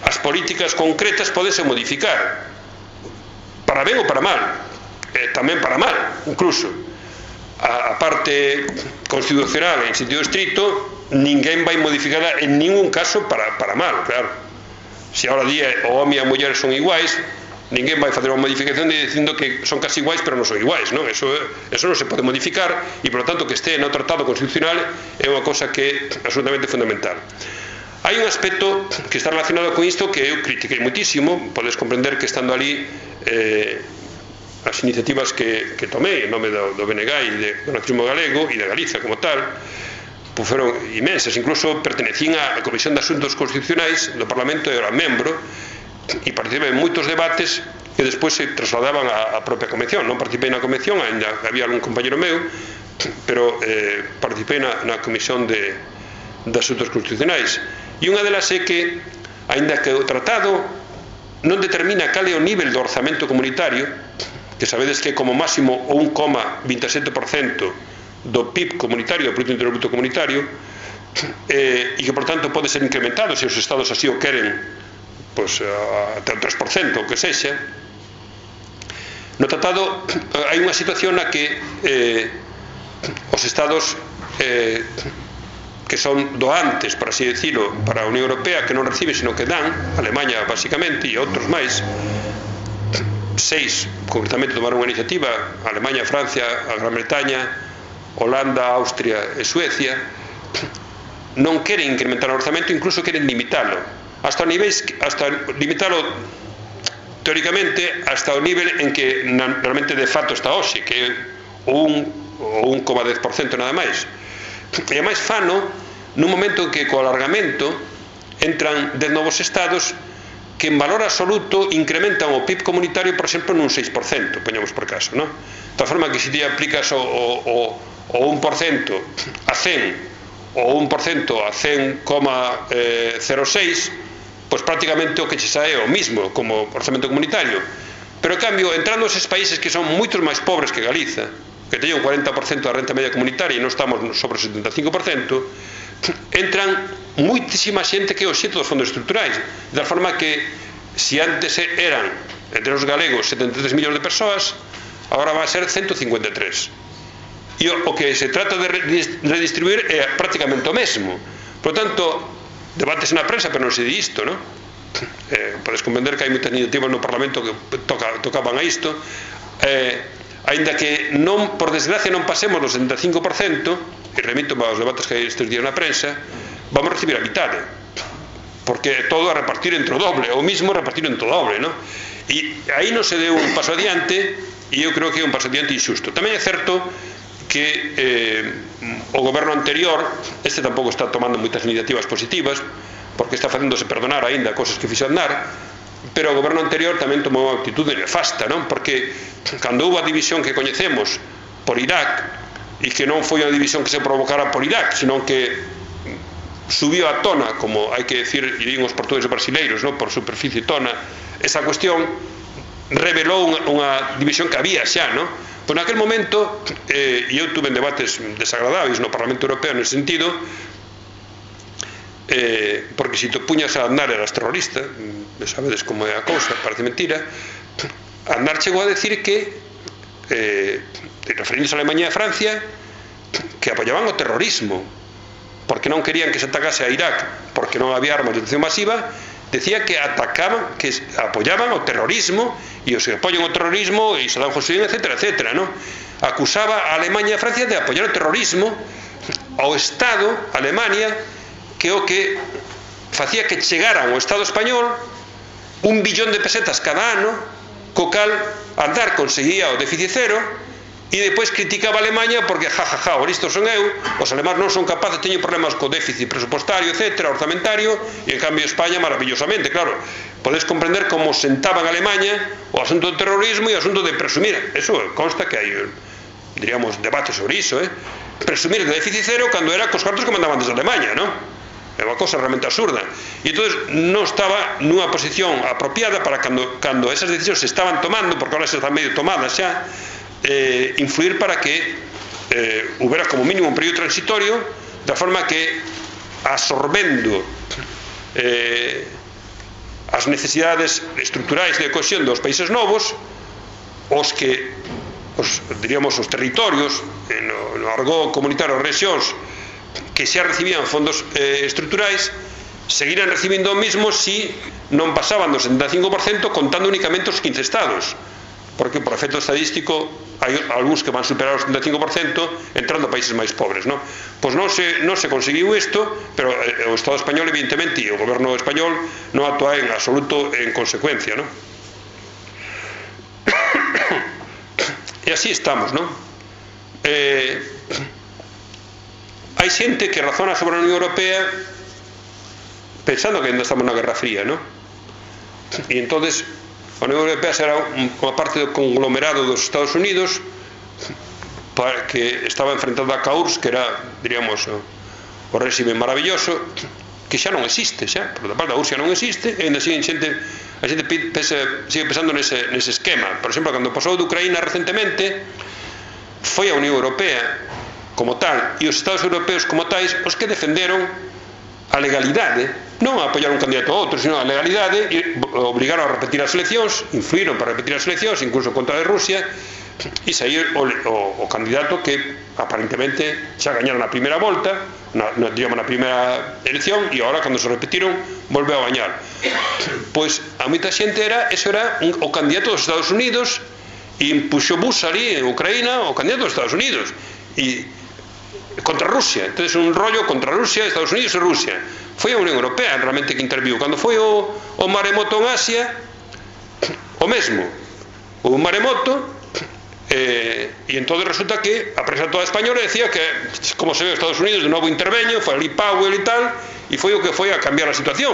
as políticas concretas podense modificar, para ben ou para mal, eh, tamén para mal, incluso. A, a parte constitucional en sentido estricto, ninguén vai modificarla en ningún caso para, para mal, claro. Se ahora día o home e a muller son iguais, ninguén vai facer unha modificación dicindo que son casi iguais pero non son iguais, non? Eso, eso non se pode modificar e, por lo tanto, que este no tratado constitucional é unha cosa que é absolutamente fundamental. Hai un aspecto que está relacionado con isto que eu critiquei muitísimo. Podes comprender que estando ali eh, as iniciativas que, que tomei en nome do, do B N G e do nacionalismo galego e de Galiza como tal, pues foron imensas. Incluso pertenecín á Comisión de Asuntos Constitucionais do Parlamento e era membro e participei en moitos debates que despois se trasladaban á propia convención. Non participei na convención, ainda había algún compañero meu, pero eh, participei na, na Comisión de, de Asuntos Constitucionais. E unha delas é que, aínda que o tratado non determina cal é o nivel do orzamento comunitario, que sabedes que é como máximo o un coma vinte e sete por cento do P I B comunitario, do Produto Interior Bruto comunitario, eh, e que, por tanto, pode ser incrementado se os estados así o queren, pois, até o tres por cento, o que sexa. No tratado hai unha situación na que eh, os estados eh, que son doantes, por así decirlo, para a Unión Europea, que non reciben, sino que dan, Alemanha, basicamente, e outros máis, seis, concretamente, tomaron unha iniciativa, Alemanha, Francia, a Gran Bretaña, Holanda, Austria e Suecia, non queren incrementar o orzamento, incluso queren limitalo, hasta o nivel, hasta limitalo teóricamente hasta o nivel en que realmente de facto está hoxe, que é o un coma dez por cento nada máis. E ademais fano nun momento en que co alargamento entran dez novos estados que en valor absoluto incrementan o P I B comunitario, por exemplo, nun seis por cento, poñamos por caso, non? De tal forma que se ti aplicas o, o, o un por cento a cen ou un por cento a cen coma cero seis, pois prácticamente o que che sae é o mismo como orzamento comunitario. Pero, en cambio, entrando eses países que son moitos máis pobres que Galiza, que teñen un cuarenta por cento da renta media comunitaria e non estamos sobre o setenta e cinco por cento, entran moitísima xente que é o xeito dos fondos estruturais, de tal forma que se antes eran entre os galegos setenta e tres millóns de persoas, agora vai a ser ciento cincuenta e tres. E o que se trata de redistribuir é prácticamente o mesmo. Por tanto, debates na prensa, pero non se di isto, non? Eh, podes comprender que hai moitas iniciativas no Parlamento que toca, tocaban a isto, eh, aínda que non, por desgracia, non pasemos do setenta e cinco por cento, e remito aos debates que hai estes días na prensa, vamos a recibir a mitade, porque todo a repartir entre o doble, ou mismo repartir entre o doble, non? E aí non se deu un paso adiante, e eu creo que é un paso adiante injusto. Tamén é certo que eh, o goberno anterior, este tampouco está tomando moitas iniciativas positivas, porque está facéndose perdonar aínda cosas que fixo andar, pero o goberno anterior tamén tomou unha actitude nefasta, non? Porque cando houve a división que coñecemos por Irak, e que non foi unha división que se provocara por Irak, sino que subiu a tona, como hai que decir, e din os portugueses brasileiros, non? Por superficie tona, esa cuestión revelou unha, unha división que había xa, non? Pois naquel momento, eh, e eu tuve en debates desagradables no Parlamento Europeo nese sentido, eh, porque se te puñas a andar eras terrorista, sabedes como é a cousa, parece mentira. Andar chegou a decir que eh, referindo a Alemanha e a Francia, que apoyaban o terrorismo porque non querían que se atacase a Irak porque non había armas de destrucción masiva. Decía que atacaban, que apoyaban o terrorismo, e os que apoyan o terrorismo e Saddam Hussein, etcétera, etcétera, non? acusaba a Alemanha e a Francia de apoiar o terrorismo ao Estado, a Alemania, que o que facía que chegaran ao Estado español un billón de pesetas cada ano, co cal Aznar conseguía o déficit cero, e depois criticaba a Alemanha porque jajaja, o listo son eu, os alemáns non son capaces, teñen problemas co déficit presupostario, etcétera, orzamentario, e en cambio España maravillosamente, claro, podes comprender como sentaban a Alemanha o asunto do terrorismo e o asunto de presumir, eso consta que hai, diríamos, debate sobre iso, eh? presumir de déficit cero cando era cos cartos que mandaban desde Alemanha, non? É unha cosa realmente absurda, e entón non estaba nunha posición apropiada para cando, cando esas decisións se estaban tomando, porque ahora se están medio tomadas xa, Eh, influir para que eh, houbera como mínimo un período transitorio, da forma que absorbendo eh, as necesidades estruturais de cohesión dos países novos, os que os, diríamos, os territorios no, no argot comunitario, rexións que xa recibían fondos eh, estruturais seguirán recibindo o mismo si non pasaban do setenta e cinco por cento contando únicamente os quince estados, porque por efecto estadístico hai algúns que van superar o setenta e cinco por cento entrando a países máis pobres, non? Pois non se, non se conseguiu isto, pero o Estado español evidentemente e o goberno español non actúa en absoluto en consecuencia, non? E así estamos, non? Eh, hai xente que razona sobre a Unión Europea pensando que ainda estamos na Guerra Fría, non? E entonces a Unión Europea será unha parte do conglomerado dos Estados Unidos que estaba enfrentada a C A U R S, que era, diríamos, o réxime maravilloso, que xa non existe, xa, por outra parte a U R S S xa non existe, e ainda siguen xente, a xente pese, sigue pensando nese, nese esquema. Por exemplo, cando pasou de Ucraína recentemente, foi a Unión Europea como tal e os Estados Europeos como tais os que defenderon a legalidade, non a apoiar un candidato a outro, sino a legalidade, e obrigaron a repetir as eleccións, influíron para repetir as eleccións, incluso contra de Rusia, e sair o, o, o candidato que aparentemente xa gañaron na primeira volta, na, na, digamos, na primeira elección, e agora, cando se repetiron, volveu a gañar. Pois a moita xente era, eso era un, o candidato dos Estados Unidos, e impuxo Bush ali en Ucraína, o candidato dos Estados Unidos, e contra Rusia, entonces un rollo contra Rusia, Estados Unidos e Rusia. Foi a Unión Europea realmente que interviu. Cando foi o, o maremoto en Asia, o mesmo, o maremoto, eh, e entón resulta que a prensa toda española decía que, como se ve, Estados Unidos de novo interveño, foi ali Powell e tal, e foi o que foi a cambiar a situación.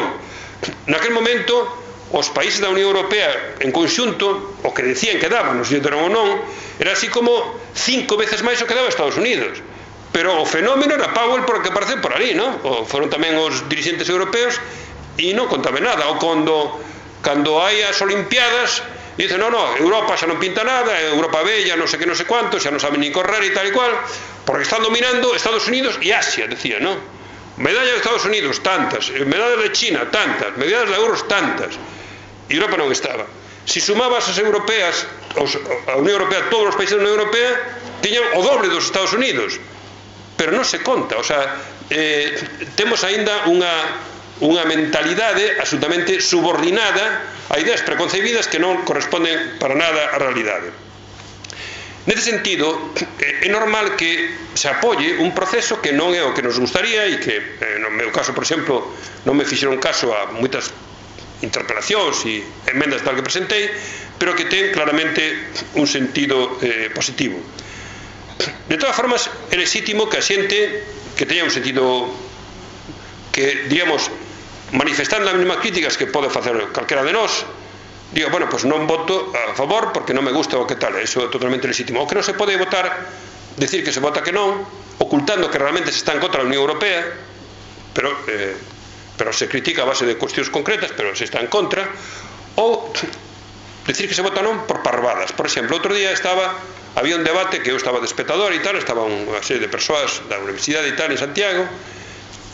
Naquel momento, os países da Unión Europea en conxunto, o que decían que daban, non sei se deron ou non, era así como cinco veces máis o que daba Estados Unidos. Pero o fenómeno era Powell por que aparece por ali, non? O foron tamén os dirixentes europeos e non contame nada. Ou cando, cando hai as Olimpiadas, dicen, non, non, Europa xa non pinta nada, Europa bella, non sei que, non sei cuánto, xa non saben ni correr e tal e cual, porque están dominando Estados Unidos e Asia, decía, non? Medallas de Estados Unidos, tantas, medallas de China, tantas, medallas de euros, tantas. E Europa non estaba. Si sumabas as europeas, a Unión Europea, todos os países da Unión Europea, tiñan o doble dos Estados Unidos. Pero non se conta, o sea, eh, temos aínda unha, unha mentalidade absolutamente subordinada a ideas preconcebidas que non corresponden para nada á realidade. Nese sentido, é normal que se apoie un proceso que non é o que nos gustaría e que, no meu caso, por exemplo, non me fixeron caso a moitas interpelacións e emendas tal que presentei, pero que ten claramente un sentido eh, positivo. De todas formas, é legítimo que a xente que teña un sentido que, digamos, manifestando as mesmas críticas que pode facer calquera de nós, diga, bueno, pois non voto a favor porque non me gusta o que tal, eso é totalmente legítimo. O que non se pode votar, decir que se vota que non, ocultando que realmente se está en contra da Unión Europea, pero, eh, pero se critica a base de cuestións concretas, pero se está en contra, ou decir que se vota non por parvadas. Por exemplo, outro día estaba... había un debate que eu estaba de espectador e tal, estaba unha serie de persoas da universidade e tal en Santiago,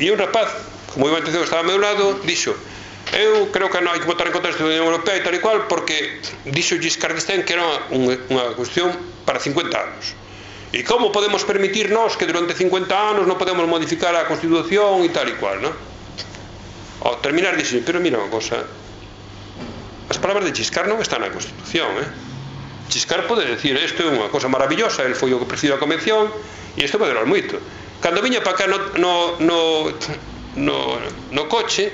e un rapaz, como iba a atención que estaba ao meu lado, dixo, eu creo que non hai que votar en contra da Unión Europea e tal e cual, porque dixo Giscard d'Estaing que era unha, unha cuestión para cincuenta anos. E como podemos permitir nós que durante cincuenta anos non podemos modificar a Constitución e tal e cual, non? Ao terminar dixo, pero mira unha cosa, as palabras de Giscard non están na Constitución, eh? Chiscar pode decir isto é unha cosa maravillosa, el foi o que presidiu a convención e isto pode durar moito. Cando viña para cá no, no, no, no, no coche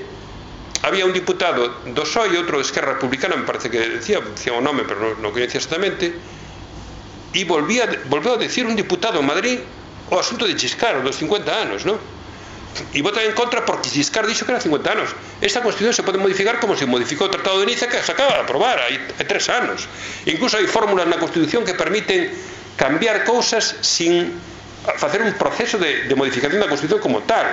había un diputado do P S O E e outro de Esquerra Republicana, me parece que decía, decía o nome, pero non, non coñecía exactamente, e volvía, volveu a decir un diputado en Madrid o asunto de Chiscar, dos cincuenta anos, non? E votan en contra porque Giscard dixo que era cincuenta anos. Esta Constitución se pode modificar como se modificou o Tratado de Niza, que se acaba de aprobar hai, hai tres anos. Incluso hai fórmulas na Constitución que permiten cambiar cousas sin facer un proceso de, de modificación da Constitución como tal.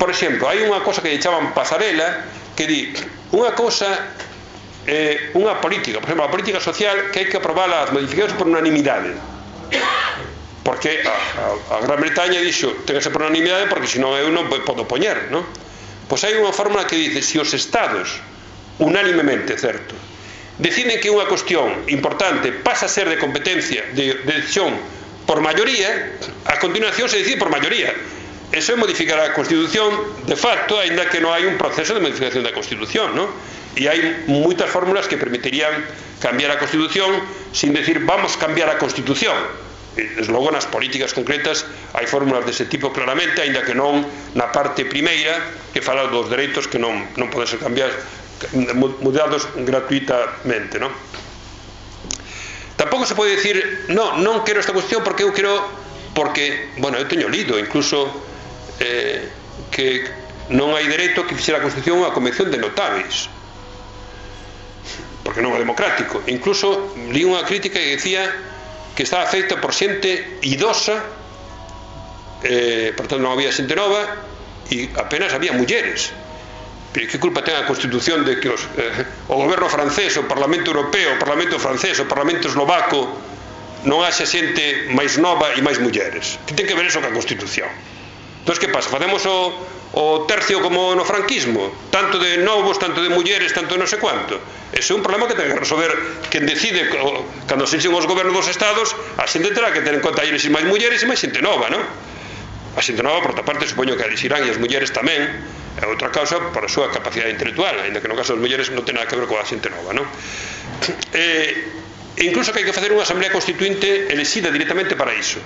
Por exemplo, hai unha cosa que lle chaman pasarela, que di unha cosa, eh, unha política, por exemplo, a política social, que hai que aprobar as modificacións por unanimidade. Porque a, a, a Gran Bretaña dixo ten que ser por unanimidade porque senón eu non podo poñer, non? Pois hai unha fórmula que dice se os estados unánimemente, certo, deciden que unha cuestión importante pasa a ser de competencia de, de decisión por maioría, a continuación se decide por maioría. Eso é modificar a Constitución de facto, aínda que non hai un proceso de modificación da Constitución, non? E hai moitas fórmulas que permitirían cambiar a Constitución sin decir vamos cambiar a Constitución. Desde logo nas políticas concretas hai fórmulas dese tipo claramente, aínda que non na parte primeira que fala dos dereitos que non, non poden ser cambiados, mudados gratuitamente, non? Tampouco se pode decir non, non quero esta cuestión porque eu quero porque, bueno, eu teño lido incluso eh, que non hai dereito que fixera a Constitución unha convención de notáveis porque non é democrático. Incluso li unha crítica que decía que estaba feita por xente idosa, eh, por tanto non había xente nova e apenas había mulleres. Pero que culpa ten a Constitución de que os, eh, o goberno francés, o Parlamento Europeo, o Parlamento francés, o Parlamento eslovaco non haxa xente máis nova e máis mulleres? Que ten que ver eso ca Constitución? Entón, que pasa? Facemos o, o tercio como no franquismo, tanto de novos, tanto de mulleres, tanto de non sei quanto. Ese é un problema que ten que resolver quen decide cando se enxen os gobernos dos estados. A xente terá que ter en conta eles máis mulleres e máis xente nova, non? A xente nova, por outra parte, supoño que elixirán, e as mulleres tamén, é outra causa por a súa capacidade intelectual, ainda que no caso das mulleres non ten nada que ver coa xente nova, non? E incluso que hai que facer unha asamblea constituinte elexida directamente para iso.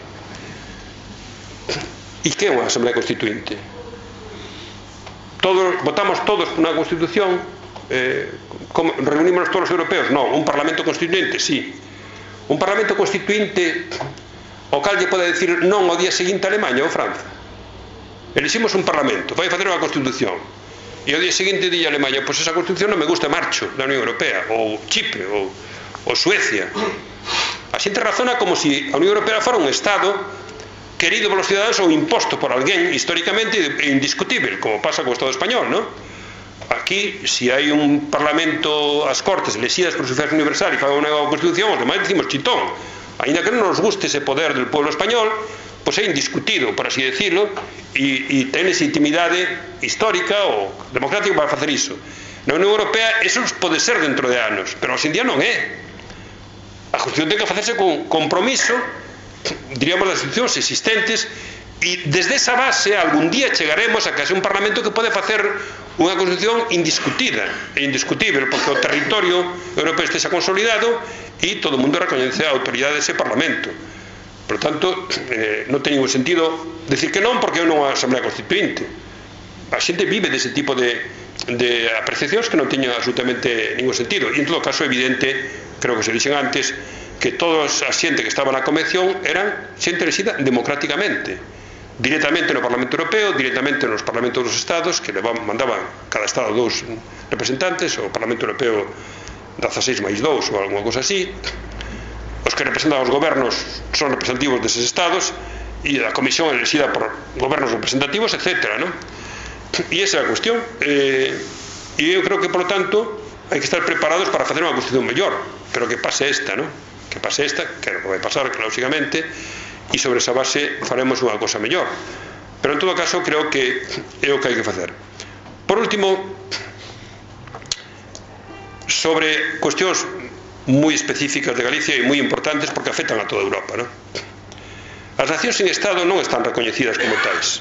E que é unha asamblea constituinte? Todos, votamos todos por unha constitución, eh, como, reunímonos todos os europeos? Non, un parlamento constituinte, sí. Un parlamento constituinte o cal lle pode decir non ao día seguinte a Alemanha ou França. Eliximos un parlamento, vai facer unha constitución e ao día seguinte dille a Alemanha pois esa constitución non me gusta, marcho da Unión Europea, ou Chipre, ou, ou Suecia. A xente razona como se a Unión Europea fora un estado querido polos cidadanos ou imposto por alguén históricamente e indiscutible, como pasa co Estado español, non? Aquí, se hai un parlamento, as Cortes elexidas por sufragio universal e fagan unha nova constitución, os demais decimos chitón. Ainda que non nos guste ese poder del pueblo español, pois é indiscutido, por así decirlo, e, e ten esa intimidade histórica ou democrática para facer iso. Na Unión Europea, eso pode ser dentro de anos, pero hoxe en día non é. A Constitución ten que facerse con compromiso, diríamos, das institucións existentes, e desde esa base algún día chegaremos a que haxe un parlamento que pode facer unha constitución indiscutida e indiscutible, porque o territorio europeo estexa consolidado e todo o mundo recoñece a autoridade dese parlamento. Por tanto, eh, non ten ningún sentido decir que non, porque é unha asamblea constituinte. A xente vive dese tipo de, de apreciacións que non teñen absolutamente ningún sentido, e en todo caso é evidente, creo que se dixen antes, que toda a xente que estaba na convención eran xente elexida democráticamente, directamente no Parlamento Europeo, directamente nos Parlamentos dos Estados, que levaban, mandaban cada Estado dous representantes, o Parlamento Europeo dezaseis máis dous ou alguna cosa así. Os que representan os gobernos son representativos deses Estados e a Comisión elexida por gobernos representativos, etcétera, non? E esa é a cuestión. E eu creo que, por lo tanto, hai que estar preparados para facer unha constitución mellor, pero que pase esta, non? Que pase esta, que vai pasar, que lógicamente, e sobre esa base faremos unha cosa mellor. Pero en todo caso creo que é o que hai que facer. Por último, sobre cuestións moi específicas de Galicia e moi importantes porque afectan a toda Europa, non? As nacións sin Estado non están recoñecidas como tais.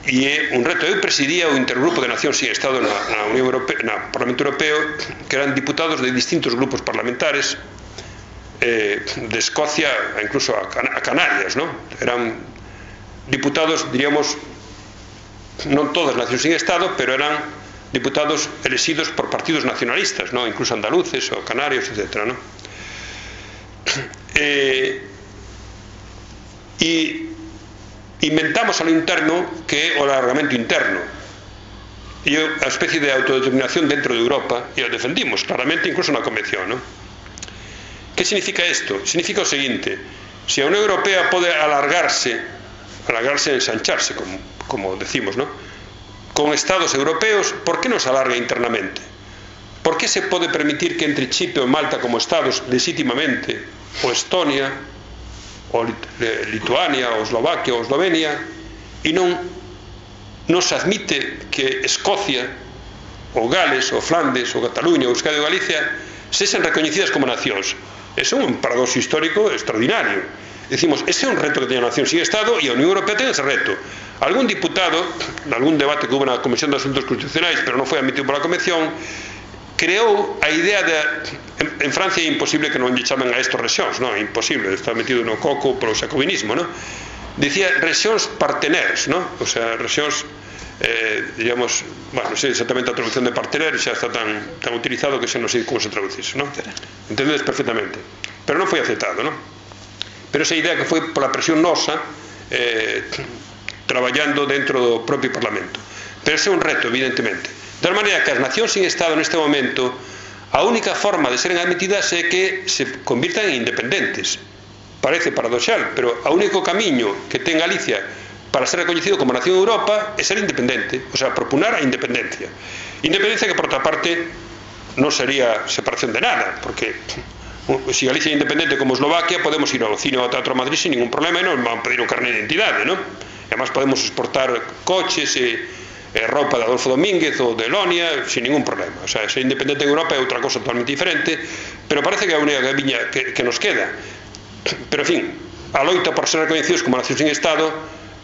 e é un reto. Eu presidía o intergrupo de Nacións sin Estado na, na Unión Europea, na Parlamento Europeo, que eran diputados de distintos grupos parlamentares, eh, de Escocia incluso a, Can a Canarias, ¿no? Eran diputados, diríamos, non todas Nacións sin Estado, pero eran diputados elegidos por partidos nacionalistas, ¿no? Incluso andaluces ou canarios, etcétera, ¿no? Eh, e inventamos a lo interno que é o alargamento interno e a especie de autodeterminación dentro de Europa, e o defendimos claramente incluso na Convención, ¿no? Que significa isto? Significa o seguinte: se a Unión Europea pode alargarse alargarse e ensancharse, como, como decimos, ¿no?, con estados europeos, por que non se alarga internamente? Por que se pode permitir que entre Chipre ou Malta como estados legítimamente, ou Estonia ou Lituania ou Eslovaquia ou Eslovenia, e non, non se admite que Escocia ou Gales ou Flandes ou Cataluña ou Euskadi ou Galicia sexan recoñecidas como nacións? Ese é un paradoxo histórico extraordinario. Decimos, ese é un reto que teña a nación sin Estado, e a Unión Europea ten ese reto. Algún diputado, en algún debate que hubo na Comisión de Asuntos Constitucionais, pero non foi admitido pola Convención, creou a idea de en, en Francia é imposible que non lle chamen a estos rexións, non, é imposible, está metido no coco polo xacobinismo, non? Dicía rexións partenaires, non? O sea, rexións eh, digamos, bueno, non sei exactamente a traducción de partenaire, xa está tan, tan utilizado que xa non sei como se traducise, non? Entendedes perfectamente, pero non foi aceptado, non? Pero esa idea que foi pola presión nosa, eh, traballando dentro do propio Parlamento, pero ese é un reto, evidentemente. De tal maneira que as nacións sin Estado neste momento, a única forma de seren admitidas é que se convirtan en independentes. Parece paradoxal, pero o único camiño que ten Galicia para ser reconhecido como nación de Europa é ser independente, o sea, proponer a independencia. Independencia que, por outra parte, non sería separación de nada, porque se Galicia é independente como Eslovaquia, podemos ir ao cine ou ao Teatro Madrid sin ningún problema e non van pedir un carné de identidade, non? E además podemos exportar coches e eh, roupa de Adolfo Domínguez ou de Elonia sin ningún problema. O sea, ser independente en Europa é outra cosa totalmente diferente, pero parece que é a única viña que, que nos queda. Pero, en fin, a loita por ser recoñecidos como nación sin Estado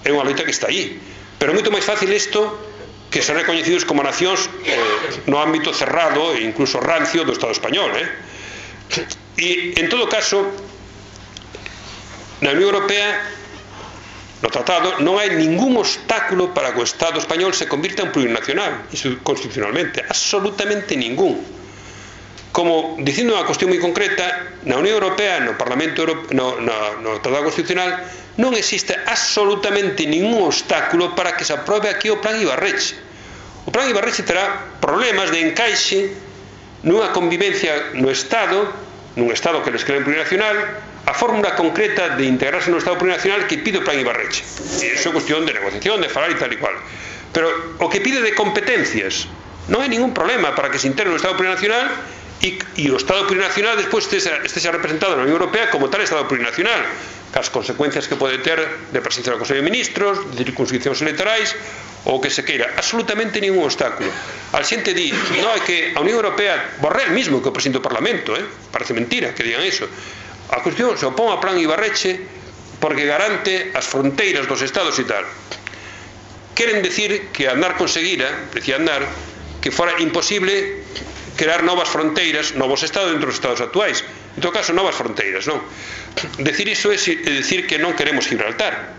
é unha loita que está aí, pero é moito máis fácil isto que ser recoñecidos como nacións eh, no ámbito cerrado e incluso rancio do Estado español, eh? E, en todo caso, na Unión Europea, no tratado, non hai ningún obstáculo para que o Estado español se convirta en plurinacional, constitucionalmente, absolutamente ningún. Como, dicindo unha cuestión moi concreta, na Unión Europea, no Parlamento Europeo, no, no, no Tratado Constitucional, non existe absolutamente ningún obstáculo para que se aprobe aquí o Plan Ibarretxe. O Plan Ibarretxe terá problemas de encaixe nunha convivencia no Estado, nun Estado que les cree plurinacional, a fórmula concreta de integrarse no Estado plurinacional que pide o Plan Ibarretxe. E iso é cuestión de negociación, de falar e tal e cual. Pero o que pide de competencias, non hai ningún problema para que se integre no Estado plurinacional e, e o Estado plurinacional despois esteja representado na Unión Europea como tal Estado plurinacional, cas consecuencias que pode ter de presencia do Consello de Ministros, de circunscripcións electorais, ou que se queira. Absolutamente ningún obstáculo. A xente di, non, é que a Unión Europea, Borrell mismo que o presidente do Parlamento, eh? Parece mentira que digan iso. A cuestión se opón ao Plan Ibarretxe porque garante as fronteiras dos estados e tal. Queren decir que Aznar conseguira, decía Aznar, que fora imposible crear novas fronteiras, novos estados dentro dos estados actuais. En todo caso, novas fronteiras, non? Decir iso é decir que non queremos Gibraltar.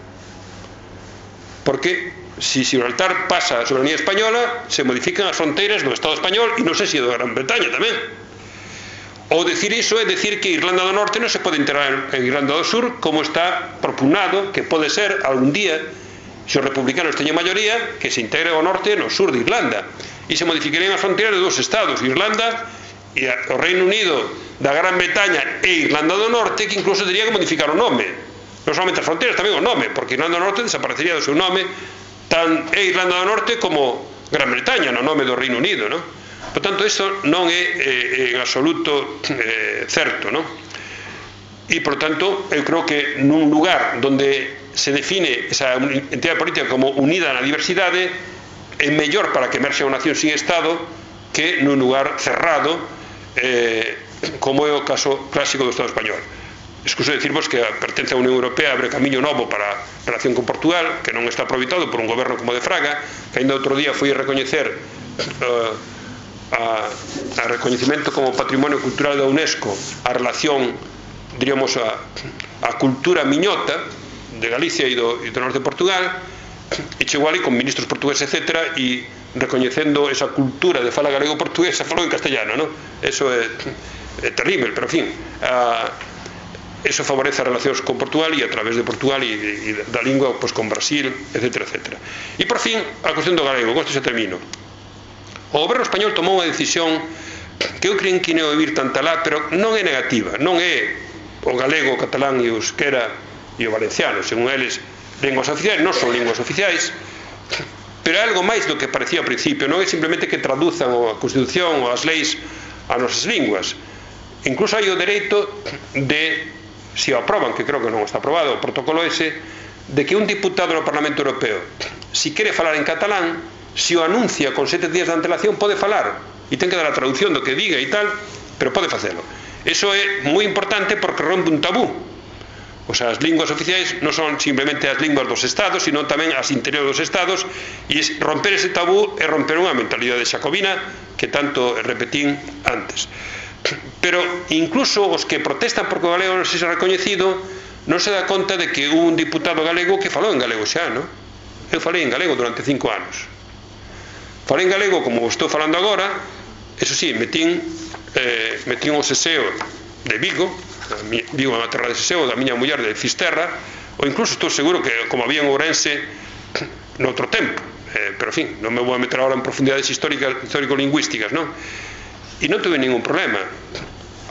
Porque se Gibraltar pasa a soberanía española, se modifican as fronteiras do Estado español e non sei se do Gran Bretaña tamén. Ou decir iso é decir que Irlanda do Norte non se pode integrar en Irlanda do Sur, como está propugnado que pode ser algún día, se os republicanos teñen maioría, que se integre ao norte no sur de Irlanda e se modificarían as fronteiras de dos estados, Irlanda e o Reino Unido da Gran Bretaña e Irlanda do Norte, que incluso tería que modificar o nome, non solamente as fronteiras, tamén o nome, porque Irlanda do Norte desaparecería do seu nome, tan é Irlanda do Norte como Gran Bretaña no nome do Reino Unido, non? Por tanto, isto non é eh, en absoluto eh, certo, non? E, por tanto, eu creo que nun lugar onde se define esa entidade política como unida na diversidade é mellor para que emerxe unha nación sin Estado que nun lugar cerrado eh, como é o caso clásico do Estado español. Escuso decirvos que a pertenza á Unión Europea abre camiño novo para a relación con Portugal, que non está aproveitado por un goberno como de Fraga, que ainda outro día foi a recoñecer uh, a, a recoñecimento como patrimonio cultural da UNESCO a relación, diríamos, a, a cultura miñota de Galicia e do, e do norte de Portugal, e chegou ali con ministros portugueses, etcétera, e recoñecendo esa cultura de fala galego-portuguesa, falou en castellano, non? Eso é, é terrible, pero en fin, a, eso favorece as relacións con Portugal e a través de Portugal e, e da lingua, pois, con Brasil, etcétera, etcétera. E por fin, a cuestión do galego, con isto se termino. O goberno español tomou unha decisión que eu creo que non é ouvir tanta lá, pero non é negativa, non é o galego, o catalán e o euskera e o valenciano, según eles, linguas oficiais, non son linguas oficiais, pero é algo máis do que parecía ao principio, non é simplemente que traduzan a Constitución ou as leis a nosas linguas. Incluso hai o dereito de, se o aproban, que creo que non está aprobado o protocolo ese, de que un diputado no Parlamento Europeo, se quere falar en catalán, se o anuncia con sete días de antelación, pode falar, e ten que dar a traducción do que diga e tal, pero pode facelo. Eso é moi importante porque rompe un tabú. O sea, as linguas oficiais non son simplemente as linguas dos estados, sino tamén as interiores dos estados, e romper ese tabú é romper unha mentalidade xacobina que tanto repetín antes. Pero incluso os que protestan porque o galego non se xa recoñecido non se dá conta de que un diputado galego que falou en galego xa, non? Eu falei en galego durante cinco anos. Falei en galego como estou falando agora, eso sí, metín, eh, metín o seseo de Vigo, Vigo é unha terra de seseo, da miña muller de Fisterra, ou incluso estou seguro que como había en Ourense noutro tempo, eh, pero en fin, non me vou a meter agora en profundidades histórico-lingüísticas, non? E non tuve ningún problema.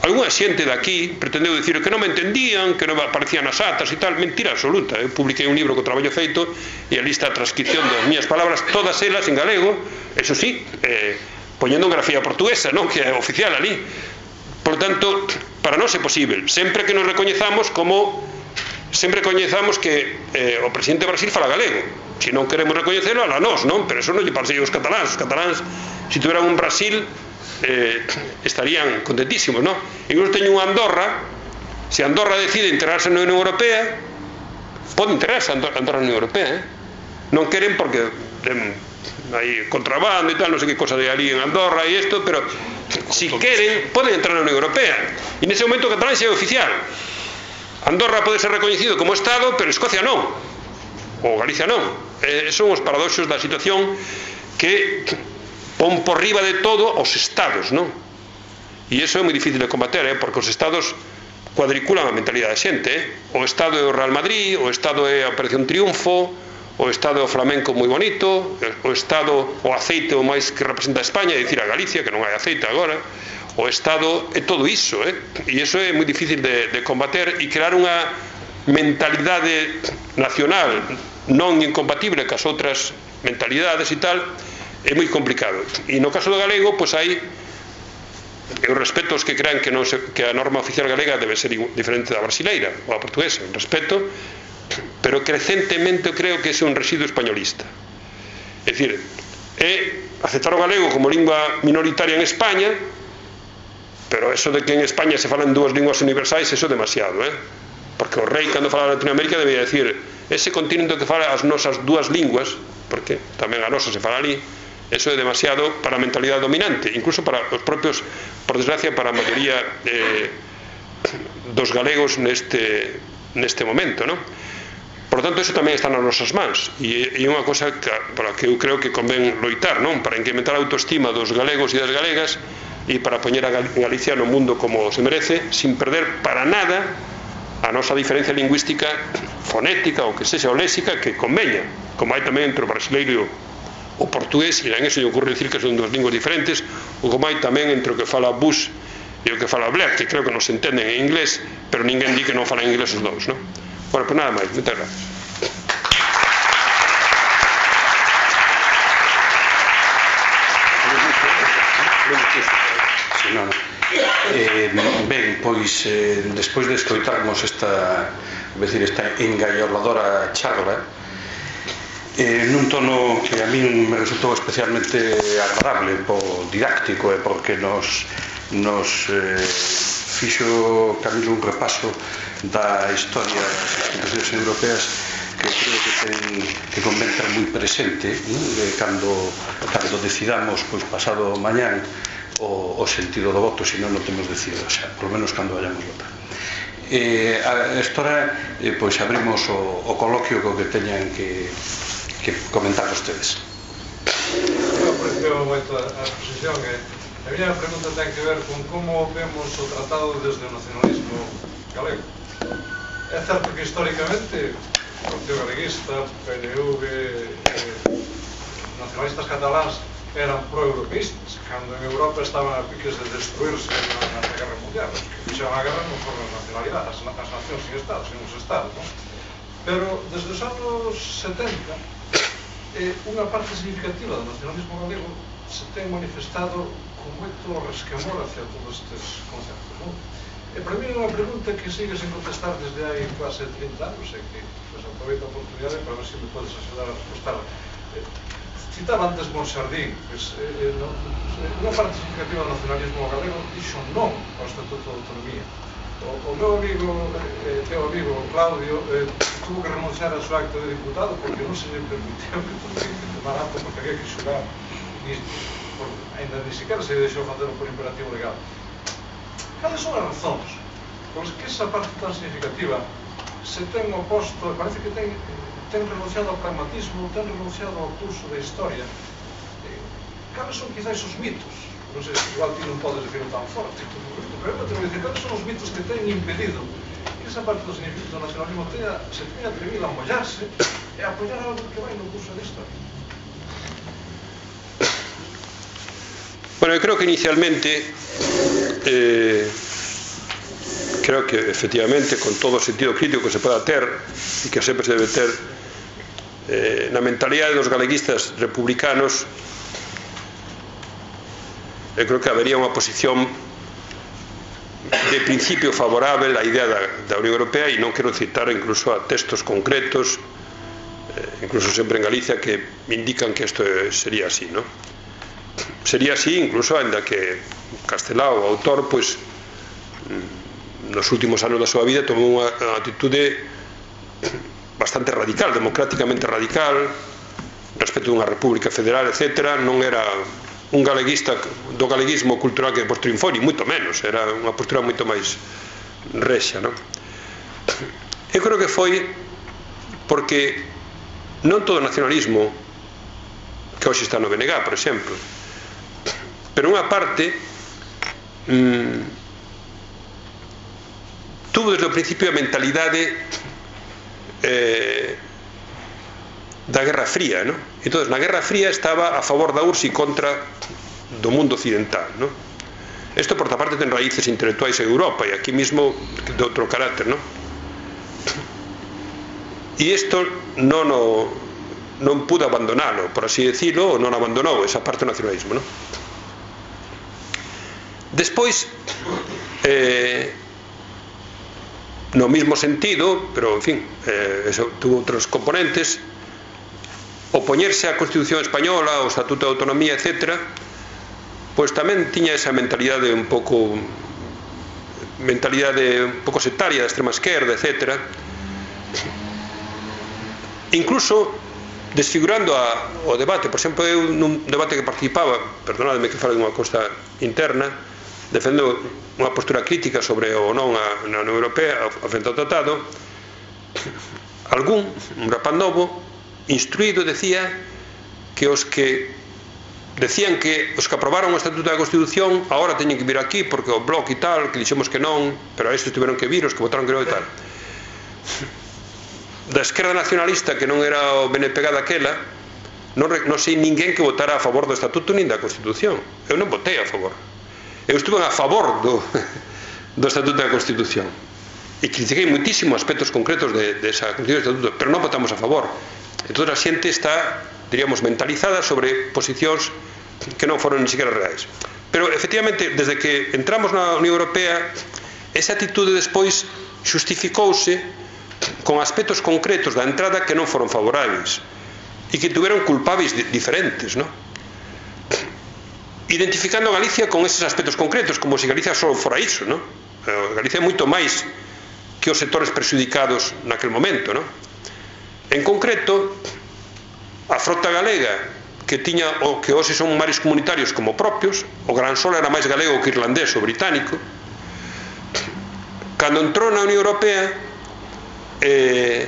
Algúna xente daqui pretendeu dicir que non me entendían, que non aparecían as atas e tal. Mentira absoluta. Eu publiquei un libro co traballo feito e ali está a transcripción das miñas palabras, todas elas en galego, eso sí, eh, poñendo en grafía portuguesa, non? Que é oficial ali. Por tanto, para nós é posible, sempre que nos recoñezamos como sempre coñezamos que eh, o presidente de Brasil fala galego. Se non queremos recoñecelo, a nós, non? Pero eso non lle parece aos cataláns. Os cataláns, se tuveran un Brasil, eh, estarían contentísimos, non? Incluso teño unha Andorra, se Andorra decide integrarse na Unión Europea, pode integrarse a Andorra na Unión Europea, eh? Non queren porque eh, hai contrabando e tal, non sei que cosa de ali en Andorra e isto, pero si queren, poden entrar na Unión Europea. E nese momento o catalán xa é oficial. Andorra pode ser recoñecido como Estado, pero Escocia non, ou Galicia non. Eh, son os paradoxos da situación que pon por riba de todo os Estados, non? E iso é moi difícil de combater, eh? Porque os Estados cuadriculan a mentalidade da xente, eh? O Estado é o Real Madrid, o Estado é a Operación Triunfo, o Estado flamenco moi bonito, o Estado o aceite o máis que representa a España, é dicir a Galicia, que non hai aceite agora, o Estado é todo iso, eh? E iso é moi difícil de, de combater e crear unha mentalidade nacional non incompatible cas outras mentalidades e tal, é moi complicado. E no caso do galego, pois hai, eu respeto os que crean que, non se, que a norma oficial galega debe ser diferente da brasileira ou a portuguesa, respeto, pero crecentemente creo que é un residuo españolista. É dicir, é aceptar o galego como lingua minoritaria en España, pero eso de que en España se falan dúas linguas universais, eso é demasiado, eh? Porque o rei, cando fala de Latinoamérica, debía decir ese continente que fala as nosas dúas linguas, porque tamén a nosa se fala ali, eso é demasiado para a mentalidade dominante, incluso para os propios, por desgracia, para a maioría eh, dos galegos neste, neste momento, non? Por tanto, eso tamén está nas nosas mans, e é unha cosa que, para que eu creo que convén loitar, non? Para incrementar a autoestima dos galegos e das galegas e para poñer a Galicia no mundo como se merece, sin perder para nada a nosa diferencia lingüística fonética ou que sexa o léxica que conveña, como hai tamén entre o brasileiro e o portugués, e en eso lle ocurre dicir que son dos linguas diferentes, ou como hai tamén entre o que fala Bush e o que fala Blair, que creo que non se entenden en inglés, pero ninguén di que non falan inglés os dous, non? Bueno, pues nada máis, moitas gracias. Sí, no, no. Eh, ben, pois eh, despois de escoitarmos esta, decir, esta engaioladora charla eh, nun tono que a mí me resultou especialmente agradable, po didáctico e porque nos nos eh, fixo Camilo un repaso da historia das institucións europeas que creo que ten que convén ter moi presente, de cando, cando decidamos, pois pasado mañán, o, o sentido do voto, se non non temos decidido, xa, por lo menos cando vayamos votar. Eh, a história, eh, pois abrimos o, o coloquio co que teñan que, que comentar vostedes. Me pareceu moito a exposición e a miña pregunta ten que ver con como vemos o tratado desde o nacionalismo galego. É certo que históricamente o Partido Galeguista, P N V, eh, nacionalistas cataláns eran pro-europeístas, cando en Europa estaban a piques de destruirse na, na Guerra Mundial. Os que fixeron a guerra non foron as nacionalidades, as, as nacións sin Estado, sin os Estados, non? Pero desde os anos setenta, eh, unha parte significativa do nacionalismo galego se ten manifestado con moito resquemor hacia todos estes conceptos, non? E para mí é unha pregunta que sigue sen contestar desde hai quase trinta anos, e que pues, aproveito a oportunidade para ver se me podes axudar a respostar. Eh, citaba antes Monsardín, pues, eh, no, unha parte significativa do nacionalismo galego dixo non ao Estatuto de Autonomía. O, o meu amigo, eh, teu amigo Claudio, eh, tuvo que renunciar a súa acta de diputado porque non se lle permitiu que tomar acta porque había que xurar, ni, por, ainda ni siquiera se deixou facer por imperativo legal. Cales son as razóns pois que esa parte tan significativa se ten oposto, parece que ten, ten renunciado ao pragmatismo, ten renunciado ao curso da historia? Eh, cales son quizás os mitos? Non sei, igual ti non podes decirlo tan forte, pero eu te vou dicir, cales son os mitos que ten impedido que esa parte do significado do nacionalismo tenha, se tenha atrevido a mollarse e a apoiar algo que vai no curso da historia? Bueno, eu creo que inicialmente eh, creo que efectivamente con todo o sentido crítico que se poda ter e que sempre se debe ter eh, na mentalidade dos galeguistas republicanos, eu creo que habería unha posición de principio favorável á idea da, da Unión Europea, e non quero citar incluso a textos concretos, eh, incluso sempre en Galicia, que indican que isto sería así, ¿no? Sería así, incluso, ainda que Castelao, o autor, pois, nos últimos anos da súa vida tomou unha atitude bastante radical, democráticamente radical, respecto dunha república federal, etcétera. Non era un galeguista do galeguismo cultural que depois triunfou, ni moito menos, era unha postura moito máis rexa, non? Eu creo que foi porque non todo o nacionalismo que hoxe está no B N G, por exemplo, pero unha parte mmm, tuvo desde o principio a mentalidade eh, da Guerra Fría, ¿no? Entón, na Guerra Fría estaba a favor da U R S S e contra do mundo occidental, ¿no? Isto, por outra parte, ten raíces intelectuais en Europa e aquí mismo de outro carácter, ¿no? E isto non o, non pudo abandonalo, por así decirlo, ou non abandonou esa parte do nacionalismo, ¿no? Despois, eh, no mismo sentido, pero, en fin, eh, eso tuvo outros componentes, opoñerse á Constitución Española, ao Estatuto de Autonomía, etcétera, pois tamén tiña esa mentalidade un pouco mentalidade un pouco sectaria da extrema esquerda, etcétera, incluso desfigurando a, o debate. Por exemplo, eu nun debate que participaba, perdonadme que fale dunha cousa interna, defendo unha postura crítica sobre o non a, na Unión Europea a frente ao tratado, algún, un rapaz novo instruído, decía que os que decían que os que aprobaron o Estatuto da Constitución agora teñen que vir aquí porque o Bloc e tal, que dixemos que non, pero a estes tiveron que vir, os que votaron que non e tal. Da esquerda nacionalista, que non era o B N P G daquela, non, non sei ninguén que votara a favor do Estatuto nin da Constitución. Eu non votei a favor. Eu estuve a favor do, do Estatuto da Constitución e critiquei muitísimo aspectos concretos de, de esa Constitución do Estatuto, pero non votamos a favor. Entón a xente está, diríamos, mentalizada sobre posicións que non foron ni siquiera reais. Pero, efectivamente, desde que entramos na Unión Europea, esa atitude despois xustificouse con aspectos concretos da entrada que non foron favorables e que tuveron culpables diferentes, non? Identificando a Galicia con eses aspectos concretos, como se Galicia só fora iso, non? Galicia é moito máis que os sectores prexudicados naquel momento, non? En concreto, a frota galega que tiña o que hoxe son mares comunitarios como propios, o Gran Sol era máis galego que irlandés ou británico. Cando entrou na Unión Europea, eh,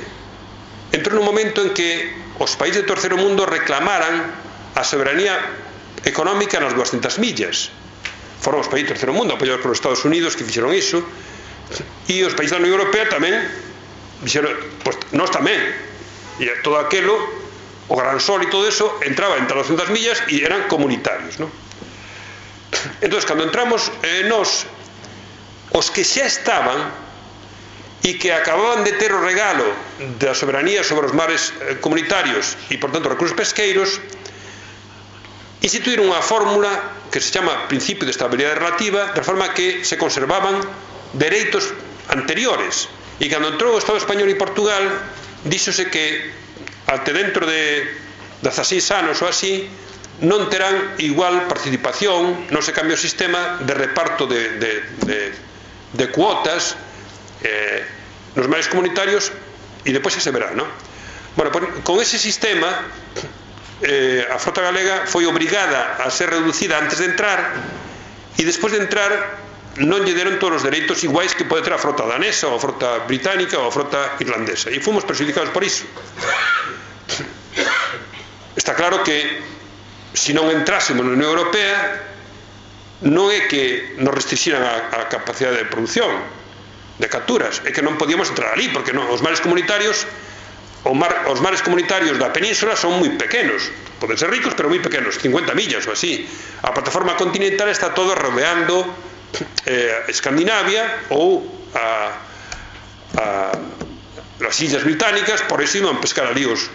entrou nun momento en que os países do terceiro mundo reclamaran a soberanía económica nas duascentas millas. Foron os países do terceiro mundo, apoiados polos Estados Unidos, que fixeron iso, e os países da Unión Europea tamén fixeron, pois, nós tamén, e todo aquelo, o Gran Sol e todo eso entraba entre as duascentas millas e eran comunitarios, non? Entón, cando entramos eh, nós, os que xa estaban e que acababan de ter o regalo da soberanía sobre os mares eh, comunitarios e, por tanto, recursos pesqueiros, instituíron unha fórmula que se chama principio de estabilidade relativa, de forma que se conservaban dereitos anteriores. E cando entrou o Estado español e Portugal, díxose que até dentro de dezaseis anos ou así non terán igual participación, non se cambia o sistema de reparto de, de, de, de cuotas eh, nos mares comunitarios, e depois xa se verá, non? Bueno, pues, con ese sistema eh, a frota galega foi obrigada a ser reducida antes de entrar, e despois de entrar non lle deron todos os dereitos iguais que pode ter a frota danesa ou a frota británica ou a frota irlandesa, e fomos perjudicados por iso. Está claro que se non entrásemos na Unión Europea non é que nos restringiran a, a capacidade de produción de capturas, é que non podíamos entrar ali, porque non, os mares comunitarios o mar, os mares comunitarios da península son moi pequenos, poden ser ricos pero moi pequenos, cincuenta millas ou así. A plataforma continental está todo rodeando eh, Escandinavia ou a, a las Illas Británicas, por eso iban a pescar ali os,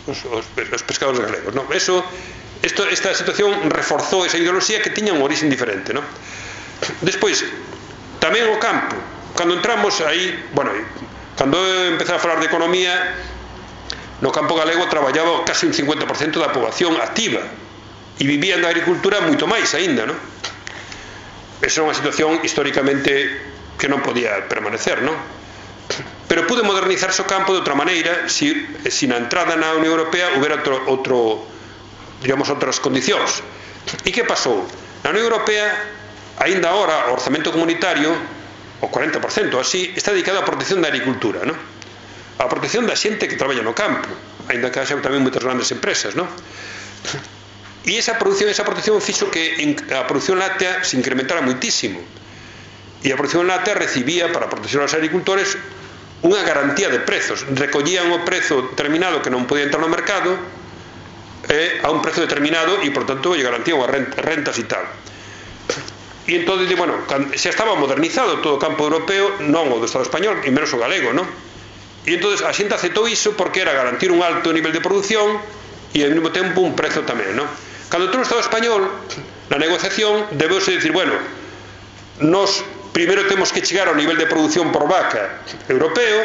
os, os pescadores galegos, ¿no? Eso, esto, esta situación reforzou esa ideoloxía que tiña un origen diferente, ¿no? Despois, tamén o campo, cando entramos aí, bueno, cando empecé a falar de economía, no campo galego traballaba casi un cincuenta por cento da poboación activa e vivían da agricultura moito máis aínda, ¿no? Esa é unha situación históricamente que non podía permanecer, ¿no? Pero pude modernizarse o campo de outra maneira se si na entrada na Unión Europea houbera outro, outro digamos, outras condicións. E que pasou? Na Unión Europea, aínda agora, o orzamento comunitario, o cuarenta por cento así, está dedicado á protección da agricultura, ¿no? A protección da xente que traballa no campo, aínda que haxa tamén moitas grandes empresas, ¿no? E esa produción, esa protección fixo que a produción láctea se incrementara moitísimo. E a produción láctea recibía, para proteger aos agricultores, unha garantía de prezos. Recollían o prezo determinado que non podía entrar no mercado eh, a un prezo determinado e, por tanto, lle garantían as rentas e tal. E entón, bueno, xa estaba modernizado todo o campo europeo, non o do Estado español, e menos o galego, non? E entón, a xente aceptou iso porque era garantir un alto nivel de produción e, ao mesmo tempo, un prezo tamén, non? Cando entrou o Estado español, na negociación, debeuse dicir, bueno, nos primeiro temos que chegar ao nivel de produción por vaca europeo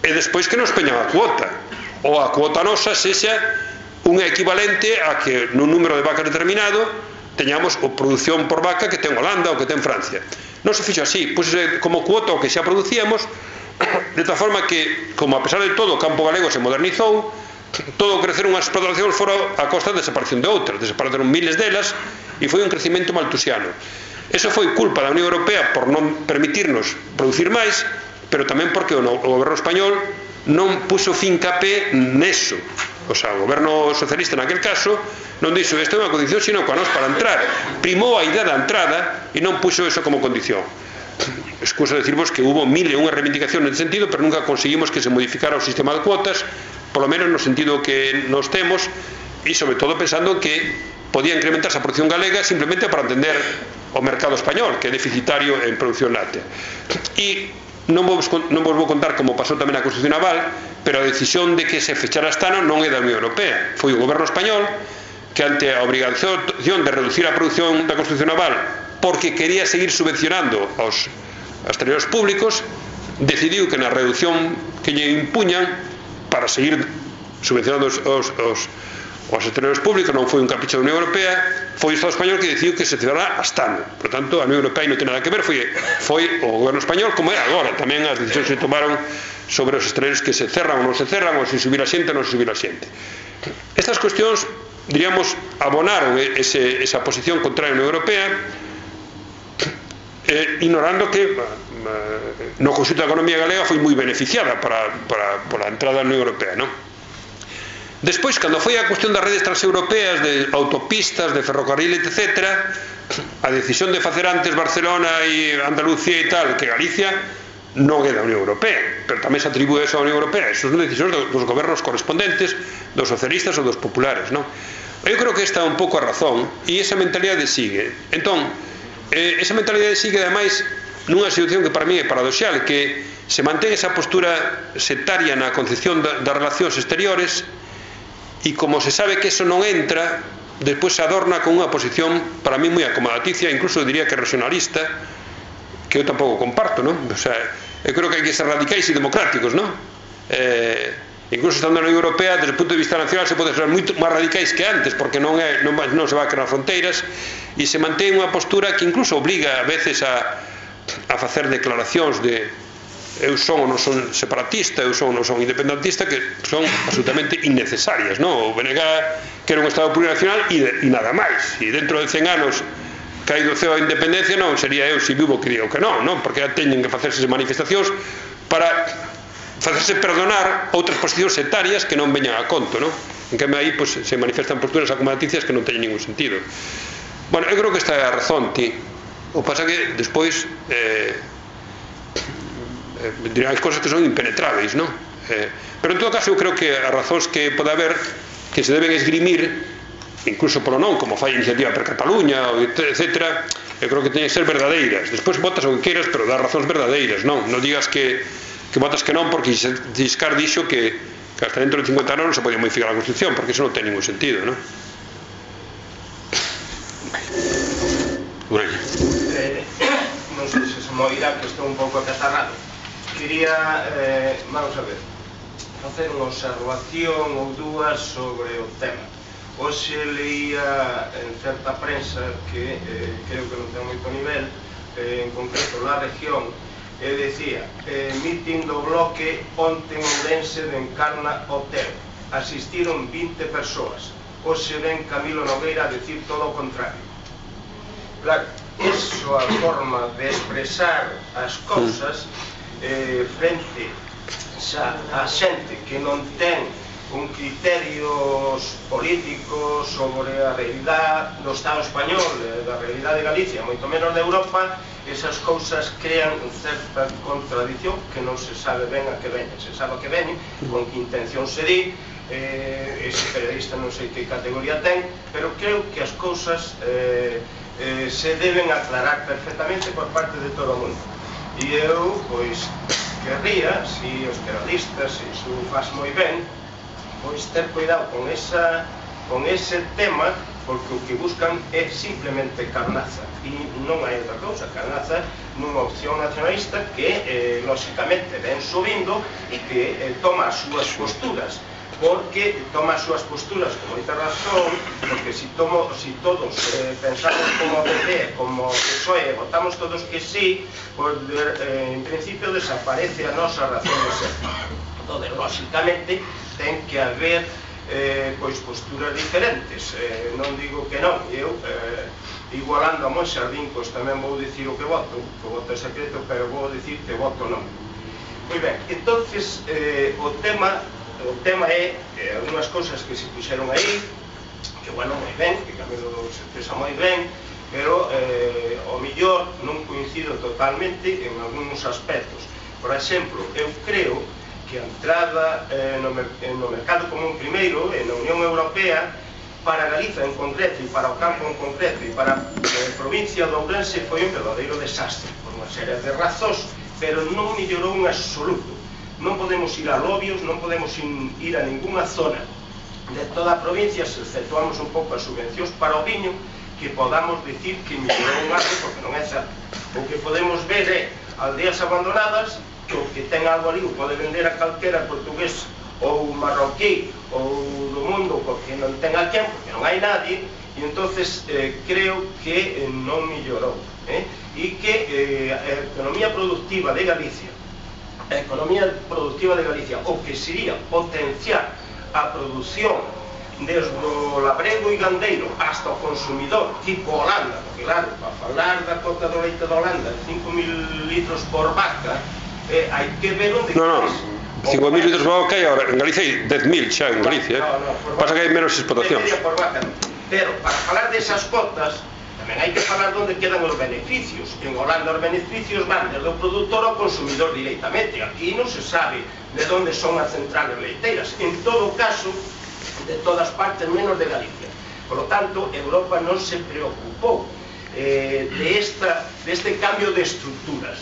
e despois que nos peñan a cuota, ou a cuota nosa sexa un equivalente a que nun número de vacas determinado teñamos o produción por vaca que ten Holanda ou que ten Francia. Non se fixo así, pois como cuota o que xa producíamos, de tal forma que, como a pesar de todo o campo galego se modernizou, todo crecer unhas explotacións fora a costa da desaparición de outras, desapareceron miles delas e foi un crecimento maltusiano. Eso foi culpa da Unión Europea por non permitirnos producir máis, pero tamén porque o, o goberno español non puso fincapé neso. O sea, o goberno socialista naquel caso non dixo isto é unha condición, sino que a nos para entrar. Primou a idea da entrada e non puxo eso como condición. Excusa decirvos que hubo mil e unha reivindicación nesse sentido, pero nunca conseguimos que se modificara o sistema de cuotas, polo menos no sentido que nos temos, e sobre todo pensando que podía incrementarse a produción galega simplemente para atender o mercado español, que é deficitario en produción láctea. E non vos, non vos vou contar como pasou tamén a construcción naval, pero a decisión de que se fechara Astano non é da Unión Europea, foi o goberno español que ante a obrigación de reducir a produción da construcción naval porque quería seguir subvencionando aos exteriores públicos, decidiu que na reducción que lle impuñan para seguir subvencionando os, os, os, os estreos públicos, non foi un capricho da Unión Europea, foi o Estado español que decidiu que se celebrara hasta ano. Por tanto, a Unión Europea non ten nada que ver, foi, foi o goberno español, como é agora, tamén as decisións se tomaron sobre os estreos que se cerran ou non se cerran, ou se subir a xente ou non se subir a xente. Estas cuestións, diríamos, abonaron ese, esa posición contra a Unión Europea, eh, ignorando que eh, no conxunto da economía galega foi moi beneficiada para, para, para a entrada da Unión Europea, non? Despois, cando foi a cuestión das redes transeuropeas, de autopistas, de ferrocarril, etcétera, a decisión de facer antes Barcelona e Andalucía e tal, que Galicia, non é da Unión Europea, pero tamén se atribúe eso á Unión Europea. Eso son decisións dos gobernos correspondentes, dos socialistas ou dos populares, non? Eu creo que esta é un pouco a razón, e esa mentalidade sigue. Entón, eh, esa mentalidade sigue, ademais, nunha situación que para mí é paradoxal, que se mantén esa postura sectaria na concepción das relacións exteriores, e como se sabe que eso non entra, despois se adorna con unha posición para mí moi acomodaticia, incluso diría que regionalista, que eu tampouco comparto, non? O sea, eu creo que hai que ser radicais e democráticos, non? Eh, incluso estando na Unión Europea, desde o punto de vista nacional se pode ser moito máis radicais que antes, porque non, é, non, non se va a crear fronteiras, e se mantén unha postura que incluso obriga a veces a, a facer declaracións de eu son ou non son separatista, eu son ou non son independentista, que son absolutamente innecesarias, non? O B N G que era un Estado plurinacional e, de, e nada máis, e dentro de cen anos caído o ceo a independencia non sería eu se vivo que digo que non, non? Porque já teñen que facerse manifestacións para facerse perdonar outras posicións sectarias que non veñan a conto, non? En que aí pues, se manifestan posturas acomodaticias que non teñen ningún sentido. Bueno, eu creo que esta é a razón, ti. O pasa que despois eh, eh, dirán as cosas que son impenetráveis, non? Eh, pero en todo caso eu creo que as razóns que pode haber que se deben esgrimir, incluso polo non, como fai a Iniciativa per Cataluña, etcétera, eu creo que teñen que ser verdadeiras. Despois votas o que queiras, pero das razóns verdadeiras, non? Non digas que, que votas que non, porque Giscard dixo que, que hasta dentro de cincuenta anos non se podía modificar a Constitución, porque eso non ten ningún sentido, non? Eh, non sei se se me oirá, que estou un pouco acatarrado. Quería, eh, vamos a ver, facer unha observación ou dúas sobre o tema. Hoxe leía en certa prensa que eh, creo que non ten moito nivel, eh, en concreto La Región, e decía eh, mitin do bloque onte en Ourense de Encarna Hotel, asistiron vinte persoas. Hoxe ven Camilo Nogueira a decir todo o contrario. Claro, iso a forma de expresar as cousas eh, frente xa a xente que non ten un criterios políticos sobre a realidade do Estado español, da realidade de Galicia, moito menos de Europa, esas cousas crean certa contradición que non se sabe ben a que veñen. Se sabe a que veñen, con que intención se di, eh, ese periodista non sei que categoría ten, pero creo que as cousas eh, eh, se deben aclarar perfectamente por parte de todo o mundo. E eu, pois, querría, si os periodistas, se iso faz moi ben, pois ter cuidado con, esa, con ese tema, porque o que buscan é simplemente carnaza, e non hai outra cousa, carnaza nunha opción nacionalista que, eh, lóxicamente, ven subindo e que eh, toma as súas posturas, porque toma as súas posturas con moita razón, porque si, tomo, si todos eh, pensamos como P P, como P S O E, votamos todos que sí, pues, eh, en principio desaparece a nosa razón de ser. Entonces, lóxicamente, ten que haber eh, pois posturas diferentes, eh, non digo que non, eu eh, igualando a Monxe Ardín, pois tamén vou dicir o que voto, o voto é secreto, pero vou dicir que voto non. Moi ben, entonces eh, o tema o tema é eh, algunhas cousas que se puxeron aí, que bueno, moi ben, que Camilo se expresa moi ben, pero eh, o millor non coincido totalmente en algúns aspectos. Por exemplo, eu creo que a entrada eh, no, no mercado común primeiro e na Unión Europea para Galiza en concreto e para o campo en concreto e para a eh, provincia de Ourense foi un verdadeiro desastre por unha serie de razóns, pero non mellorou en absoluto. Non podemos ir a lobios, non podemos ir a ninguna zona de toda a provincia, se exceptuamos un pouco as subvencións para o viño, que podamos dicir que mellorou un algo, porque non é certo. O que podemos ver é aldeas abandonadas, que o que ten algo ali o pode vender a calquera portugués ou marroquí ou do mundo, porque non ten a quen, porque non hai nadie, e entonces eh, creo que eh, non mellorou, eh? e que eh, a economía productiva de Galicia, a economía productiva de Galicia, o que sería potenciar a produción desde o labrego e gandeiro hasta o consumidor, tipo Holanda, porque claro, para falar da cota do leite de Holanda, cinco mil litros por vaca, eh, hai que ver onde no, no. cinco mil litros por vaca, en Galicia hai dez mil xa en Galicia, no, no, no, pasa que hai menos explotacións. Pero para falar desas cotas tamén hai que falar onde quedan os beneficios. En Holanda os beneficios van desde o produtor ao consumidor directamente. Aquí non se sabe de onde son as centrales leiteiras. En todo caso, de todas partes menos de Galicia. Por lo tanto, Europa non se preocupou eh, de, esta, de este cambio de estructuras.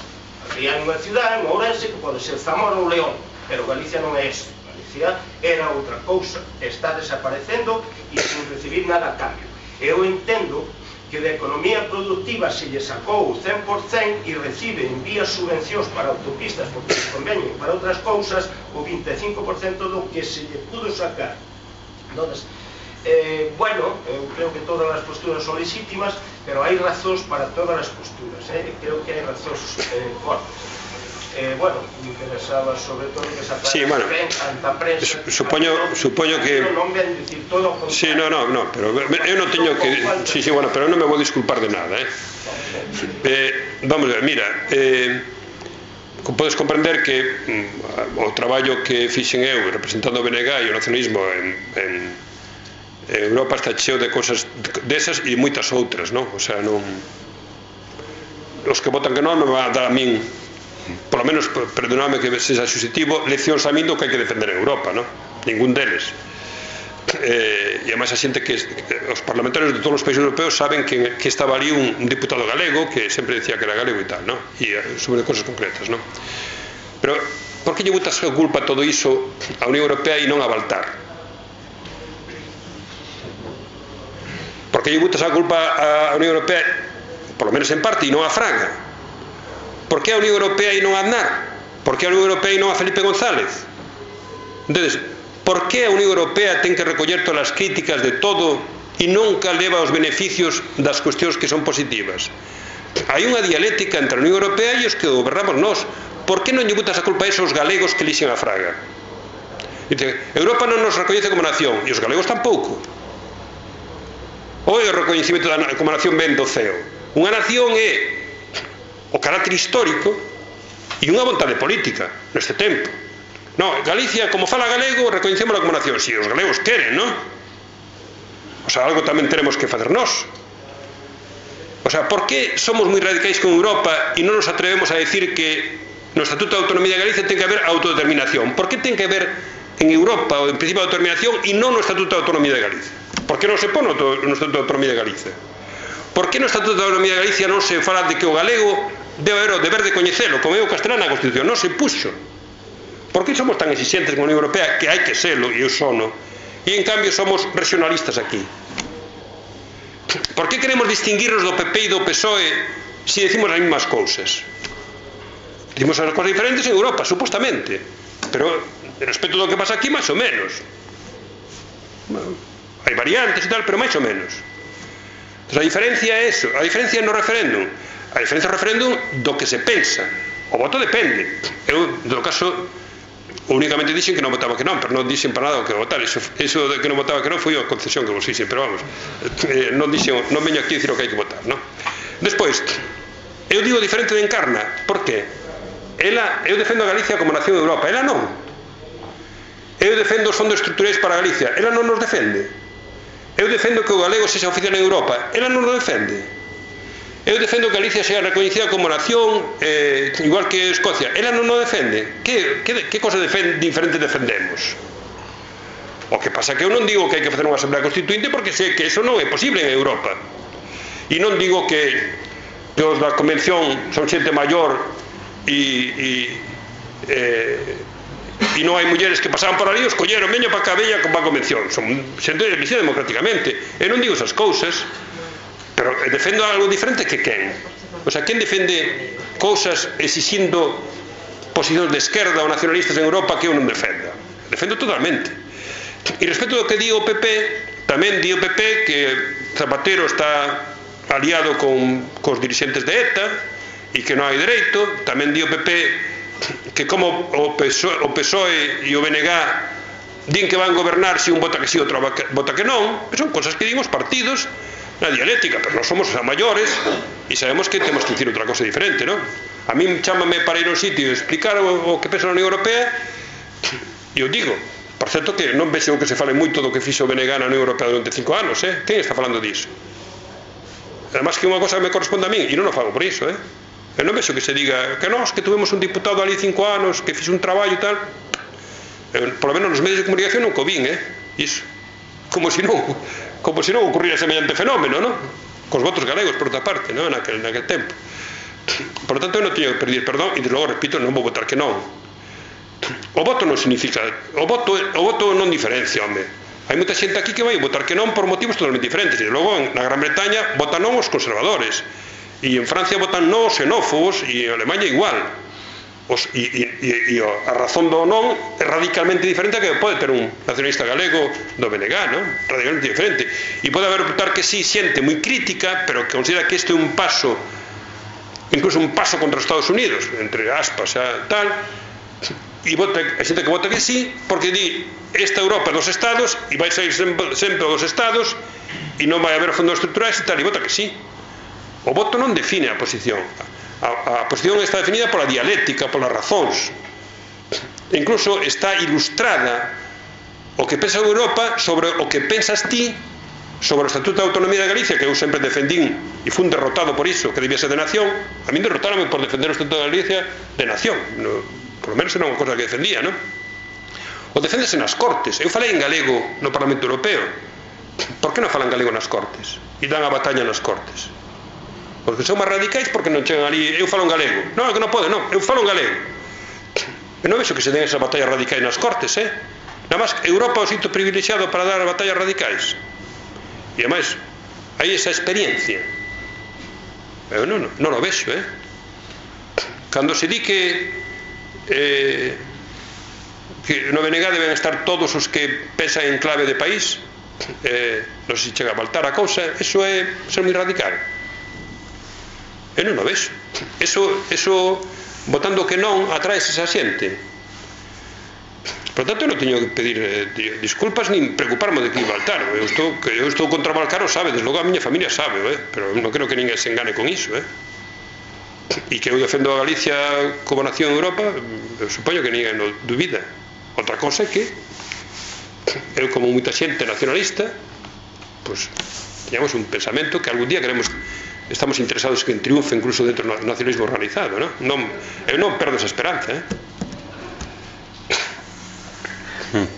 Había unha cidade, en Ourense, que pode ser Zamora ou León, pero Galicia non é eso. Galicia era outra cousa, está desaparecendo e sin recibir nada a cambio. Eu entendo que de economía productiva se lle sacou o cen por cen e recibe en vías subvencións para autopistas, porque se conveñen para outras cousas, o vinte e cinco por cento do que se lle pudo sacar. Entonces, eh, bueno, eu creo que todas as posturas son legítimas, pero hai razóns para todas as posturas, eh? Creo que hai razóns eh, fortes. Eh, bueno, me interesaba sobre todo que esa sí, bueno, tanta prensa, supoño, supoño que non ven dicir todo o sí, no, no, no, pero eu non teño que sí, sí, bueno, pero non me vou disculpar de nada, eh? eh vamos a ver, mira, eh podes comprender que mm, o traballo que fixen eu representando o B N G e o nacionalismo en, en, en Europa está cheo de cosas desas e moitas outras, non? O sea, non os que votan que non non me van a dar a min, por lo menos, perdonadme que sexa xusitivo, leccións a min do que hai que defender en Europa, non? Ningún deles. Eh, e además a xente que, que os parlamentarios de todos os países europeos saben que, que estaba ali un, un diputado galego que sempre decía que era galego e tal, ¿no? E sobre cosas concretas, ¿no? Pero por que lle botas a culpa todo iso a Unión Europea e non a Baltar? Por que lle botas a culpa a Unión Europea, por lo menos en parte, e non a Fraga? Por que a Unión Europea e non a Aznar? Por que a Unión Europea e non a Felipe González? Entonces, por que a Unión Europea ten que recoller todas as críticas de todo e nunca leva os beneficios das cuestións que son positivas? Hai unha dialéctica entre a Unión Europea e os que gobernamos nós. Por que non lle botas a culpa a esos galegos que lixen a Fraga? Dice, Europa non nos recoñece como nación e os galegos tampouco. O é o recoñecimento da, como nación ben do C E O. Unha nación é o carácter histórico e unha vontade política neste tempo. No, Galicia, como fala galego, recoñecémola como nación. Si, os galegos queren, non? O sea, algo tamén tenemos que facer nós. O sea, por que somos moi radicais con Europa e non nos atrevemos a decir que no Estatuto de Autonomía de Galicia ten que haber autodeterminación? Por que ten que haber en Europa o en principio de autodeterminación e non no Estatuto de Autonomía de Galicia? Por que non se pone no Estatuto de Autonomía de Galicia? Por que no Estatuto de Autonomía de Galicia non se fala de que o galego debe haber o deber de coñecelo, como é o castelán na Constitución? Non se puxo. Por que somos tan exigentes con a Unión Europea, que hai que selo, e eu sono, e en cambio somos regionalistas aquí? Por que queremos distinguirnos do P P e do P S O E se decimos as mesmas cousas? Decimos as cosas diferentes en Europa, supostamente, pero respecto do que pasa aquí, máis ou menos. Bueno, hai variantes e tal, pero máis ou menos. Entón, a diferencia é eso, a diferencia no referéndum. A diferencia do referéndum do que se pensa. O voto depende. Eu, en todo caso, únicamente dixen que non votaba que non, pero non dixen para nada o que votar. Eso, eso de que non votaba que non foi a concesión que vos dixen, pero vamos, eh, non dixen, non veño aquí a dicir o que hai que votar, non? Despois, eu digo diferente de Encarna, por que? Ela, eu defendo a Galicia como nación de Europa, ela non. Eu defendo os fondos estruturais para Galicia, ela non nos defende. Eu defendo que o galego sexa oficial en Europa, ela non nos defende. Eu defendo que Galicia sea recoñecida como nación, eh, igual que Escocia. Ela non nos defende. Que, que, que cosa defend, diferente defendemos? O que pasa que eu non digo que hai que facer unha asamblea constituinte porque sei que eso non é posible en Europa. E non digo que, que os da convención son xente maior e, e, eh, e non hai mulleres que pasaban por ali, os colleron, veño para cá, veña para a convención. Son xente elegida democráticamente. Eu non digo esas cousas. Pero defendo algo diferente que quen? O sea, quen defende cousas exixindo posicións de esquerda ou nacionalistas en Europa que eu non defenda? defendo totalmente. E respecto do que di o P P, tamén di o P P que Zapatero está aliado con cos dirixentes de ETA e que non hai dereito. Tamén di o P P que como o P S O E, o P S O E e o B N G din que van gobernar se un vota que si, outro vota que non. Son cosas que din os partidos na dialéctica, pero non somos maiores e sabemos que temos que dicir outra cosa diferente, non? A min chámame para ir ao sitio e explicar o, o que pensa na Unión Europea e eu digo. Por certo que non vexo que se fale moito do que fixo o B N G na Unión Europea durante cinco anos, eh? Quen está falando disso? Además que unha cosa me corresponde a min e non o fago por iso, eh? Eu non vexo que se diga que nós que tuvemos un diputado ali cinco anos que fixo un traballo e tal. Eu, por lo menos nos medios de comunicación non co vin, eh? Iso. Como se non como se non ocurriera semellante fenómeno, non? Cos votos galegos, por outra parte, non? Naquel, naquel tempo. Por lo tanto, eu non teño que pedir perdón e, de logo, repito, non vou votar que non. O voto non significa, o voto, o voto non diferencia, home. Hai moita xente aquí que vai votar que non por motivos totalmente diferentes. E logo, na Gran Bretaña, votan non os conservadores. E en Francia votan non os xenófobos, e en Alemanha igual. Os, e, e, e, e a razón do non é radicalmente diferente a que pode ter un nacionalista galego do B N G, non? Radicalmente diferente. E pode haber votar que sí, xente moi crítica, pero que considera que este é un paso, incluso un paso contra os Estados Unidos, entre aspas, e tal. E vota, a xente que vota que sí porque di esta Europa dos Estados e vai sair sempre, sempre dos Estados e non vai haber fondos estruturais e tal, e vota que sí. O voto non define a posición, a, a posición está definida pola dialéctica, polas razóns, e incluso está ilustrada o que pensa Europa sobre o que pensas ti sobre o Estatuto de Autonomía de Galicia, que eu sempre defendín e fui un derrotado por iso, que debía ser de nación. A mí derrotaronme por defender o Estatuto de Galicia de nación, no, por lo menos era unha cosa que defendía, non? O defendese nas Cortes. Eu falei en galego no Parlamento Europeo. Por que non falan galego nas Cortes? E dan a batalla nas Cortes? Porque son máis radicais porque non chegan ali. Eu falo en galego. Non, é que non pode, non. Eu falo en galego. Eu non vexo que se den esas batallas radicais nas Cortes, eh? Nada máis, Europa é o sitio privilexiado para dar batallas radicais. E ademais, hai esa experiencia. Eu non, non o vexo, eh? Cando se di que Eh, que no B N G deben estar todos os que pensan en clave de país, eh, non sei se chega a faltar a cousa, eso é ser moi radical. Eu non o vexo. Eso, eso votando que non atraes esa xente. Por tanto, eu non teño que pedir eh, disculpas nin preocuparme de que Baltar. Eu estou, que eu estou contra Baltar, o sabe, desde logo a miña familia sabe, eh? Pero non creo que ninguén se engane con iso, eh? E que eu defendo a Galicia como nación en Europa, eu supoño que ninguén o dubida. Outra cosa é que eu, como moita xente nacionalista, pois teñamos un pensamento que algún día queremos, estamos interesados que triunfe incluso dentro do nacionalismo organizado, non? Non, eu non perdo esa esperanza, eh? Hmm.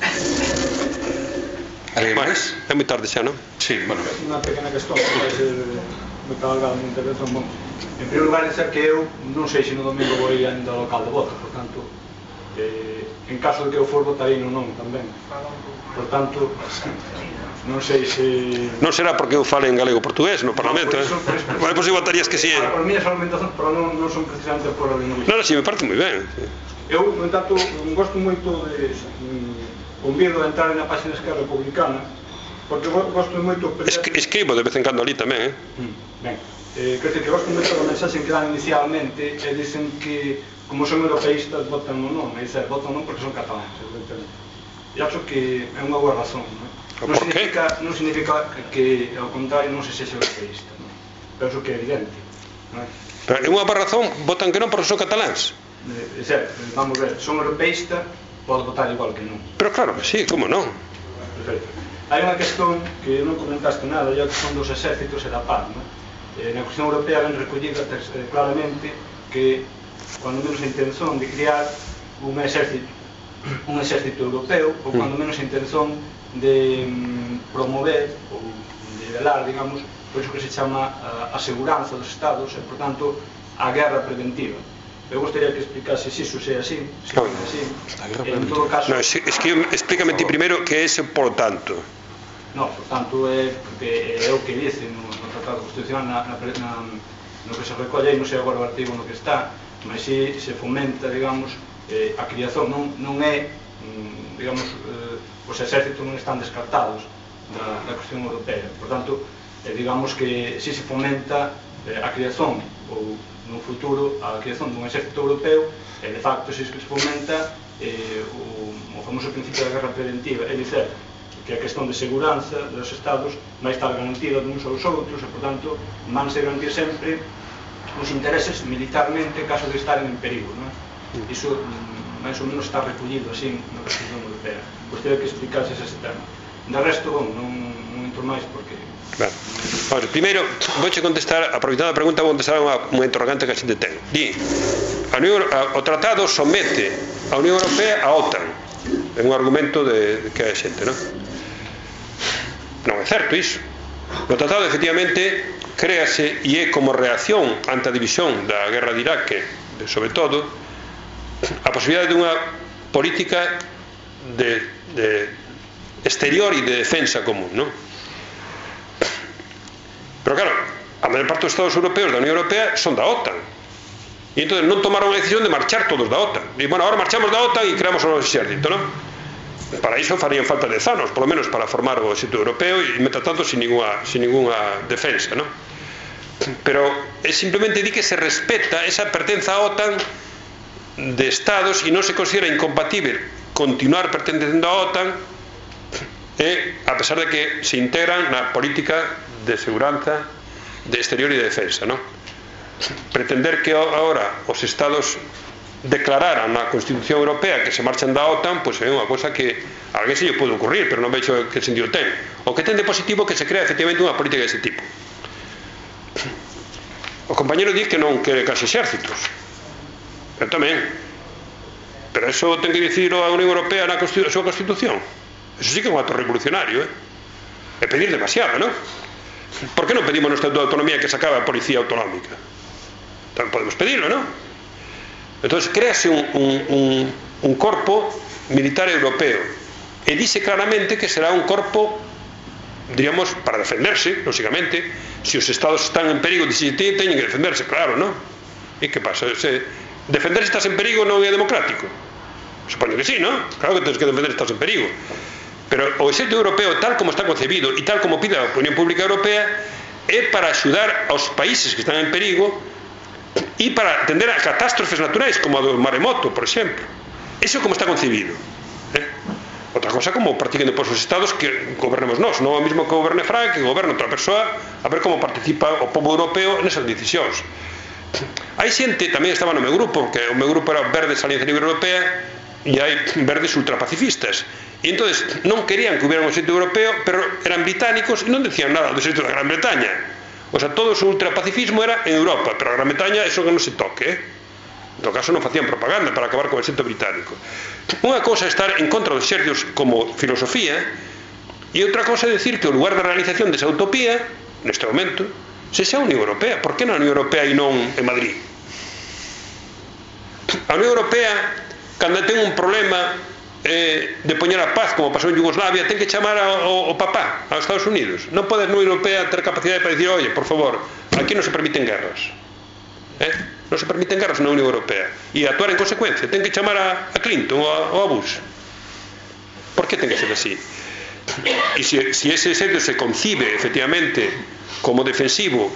Alguén máis? É moi tarde xa, non? Sí, bueno. Unha pequena cuestión que vai ser moi cabalgada na intervención. Bom, en primeiro lugar, dizer que eu non sei se no domingo vou ir ainda ao local de voto, por tanto, eh, en caso de que eu for, votarei no non tamén. Por tanto, non sei se... Non será porque eu fale en galego portugués no Parlamento, no, eh? Por iso, Vale, pois si votarías que si, eh? Por miñas argumentacións, pero non, non son precisamente por a lingüística. Non, si, me parece moi ben. Eu, no entanto, gosto moito de... Mm, convido a entrar na página Esquerra Republicana, porque gosto moito... Esque, escribo de vez en cando ali tamén, eh? Mm, ben. Eh, quer dizer que gosto moito da mensaxe que dan inicialmente e dicen que como son europeístas votan no non, e dizer, votan non porque son cataláns, evidentemente. E acho que é unha boa razón, non? Non significa, non significa que, ao contrario, non se sexa europeísta, non? Penso que é evidente, non é? Pero é unha boa razón, votan que non porque son cataláns. É certo, vamos ver, son europeísta, pode votar igual que non. Pero claro que sí, como non? Perfecto. Hai unha cuestión que non comentaste nada, e a cuestión dos exércitos e da paz, non? Eh, na cuestión europea ben recollida eh, claramente que cuando menos a intención de crear un exército un exército europeo ou cuando menos a intención de mm, promover ou de velar, digamos, por iso que se chama a, a seguranza dos estados e, por tanto, a guerra preventiva. Eu gostaría que explicase se iso é así, se non é así. En todo caso... No, es, es que explícame ti primeiro que é ese por tanto. No, por tanto, é porque é o que dice no, no Tratado Constitucional na, na, na, no que se recolle, non sei agora o artigo no que está, mas si se fomenta, digamos, a criación non é, digamos, os exércitos non están descartados da cuestión europea. Por tanto, digamos que si se fomenta a creación ou no futuro a creación dun exército europeo, e de facto si se fomenta o famoso principio da guerra preventiva, é dicer, que a questão de seguranza dos estados vai estar garantida de uns aos outros e, por tanto, van se garantir sempre os intereses militarmente en caso de estar en perigo. Iso, máis ou menos, está recollido así na Constitución Europea. Gostaria que explicase ese tema. De resto, bom, non entro máis porque... Primeiro, vouche contestar, aproveitando a pregunta, vou contestar unha interrogante que a xente ten. Di, o tratado somete a Unión Europea a OTAN. É un argumento que hai xente, non? Non é certo iso. O tratado, efectivamente, créase e é como reacción ante a división da guerra de Irak, sobre todo, a posibilidade dunha política de, de exterior e de defensa común, non? Pero claro, a maior parte dos estados europeos da Unión Europea son da OTAN e entón non tomaron a decisión de marchar todos da OTAN. E, bueno, agora marchamos da OTAN e creamos o noso exército, non? Para iso farían falta dez anos, polo menos para formar o exército europeo e, mentre tanto, sin ninguna, sin ninguna defensa, non? Pero é simplemente di que se respeta esa pertenza á OTAN de estados e non se considera incompatible continuar pertencendo á OTAN e, a pesar de que se integran na política de seguranza, de exterior e de defensa, non? Pretender que agora os estados declararan na Constitución Europea que se marchan da OTAN, pois é unha cosa que a alguén se lle pode ocurrir, pero non vexo que sentido ten. O que ten de positivo é que se crea efectivamente unha política dese tipo. O compañero di que non quere case exércitos. Eu tamén. Pero eso ten que dicir a Unión Europea na súa Constitución. Eso sí que é un acto revolucionario, eh? É pedir demasiado, non? Por que non pedimos no Estatuto de Autonomía que se acabe a Policía Autonómica? Tamén podemos pedirlo, non? Entón, créase un, un, un, un corpo militar europeo e dice claramente que será un corpo, diríamos, para defenderse, lógicamente. Se os estados están en perigo, dice, teñen que defenderse, claro, non? E que pasa? Se defenderse estás en perigo non é democrático? Supoño que sí, non? Claro que tens que defender estás en perigo. Pero o exército europeo, tal como está concebido e tal como pide a opinión pública europea, é para axudar aos países que están en perigo e para atender a catástrofes naturais como a do maremoto, por exemplo. Eso como está concebido, eh? Outra cosa como practiquen depois os estados que gobernemos nós, non o mesmo que goberne Frank, que goberne outra persoa, a ver como participa o povo europeo nesas decisións. Hai xente, tamén estaba no meu grupo, que o meu grupo era Verdes Alianza Libre Europea, e hai verdes ultrapacifistas. E entón non querían que hubiera un exército europeo, pero eran británicos e non decían nada do exército da Gran Bretaña. O sea, todo o seu ultrapacifismo era en Europa, pero a Gran Bretaña eso que non se toque, eh? En todo caso non facían propaganda para acabar con o exército británico. Unha cosa é estar en contra dos exércitos como filosofía e outra cosa é decir que o lugar de realización desa utopía, neste momento, se xa a Unión Europea. Por que na Unión Europea e non en Madrid? A Unión Europea, cando ten un problema eh, de poñer a paz, como pasou en Yugoslavia, ten que chamar ao, ao papá, aos Estados Unidos. Non pode a Unión Europea ter capacidade para dicir, oye, por favor, aquí non se permiten guerras, eh? non se permiten guerras na Unión Europea, e actuar en consecuencia. Ten que chamar a, a Clinton ou a, ou a Bush. Por que ten que ser así? E se, se ese exército se concibe efectivamente como defensivo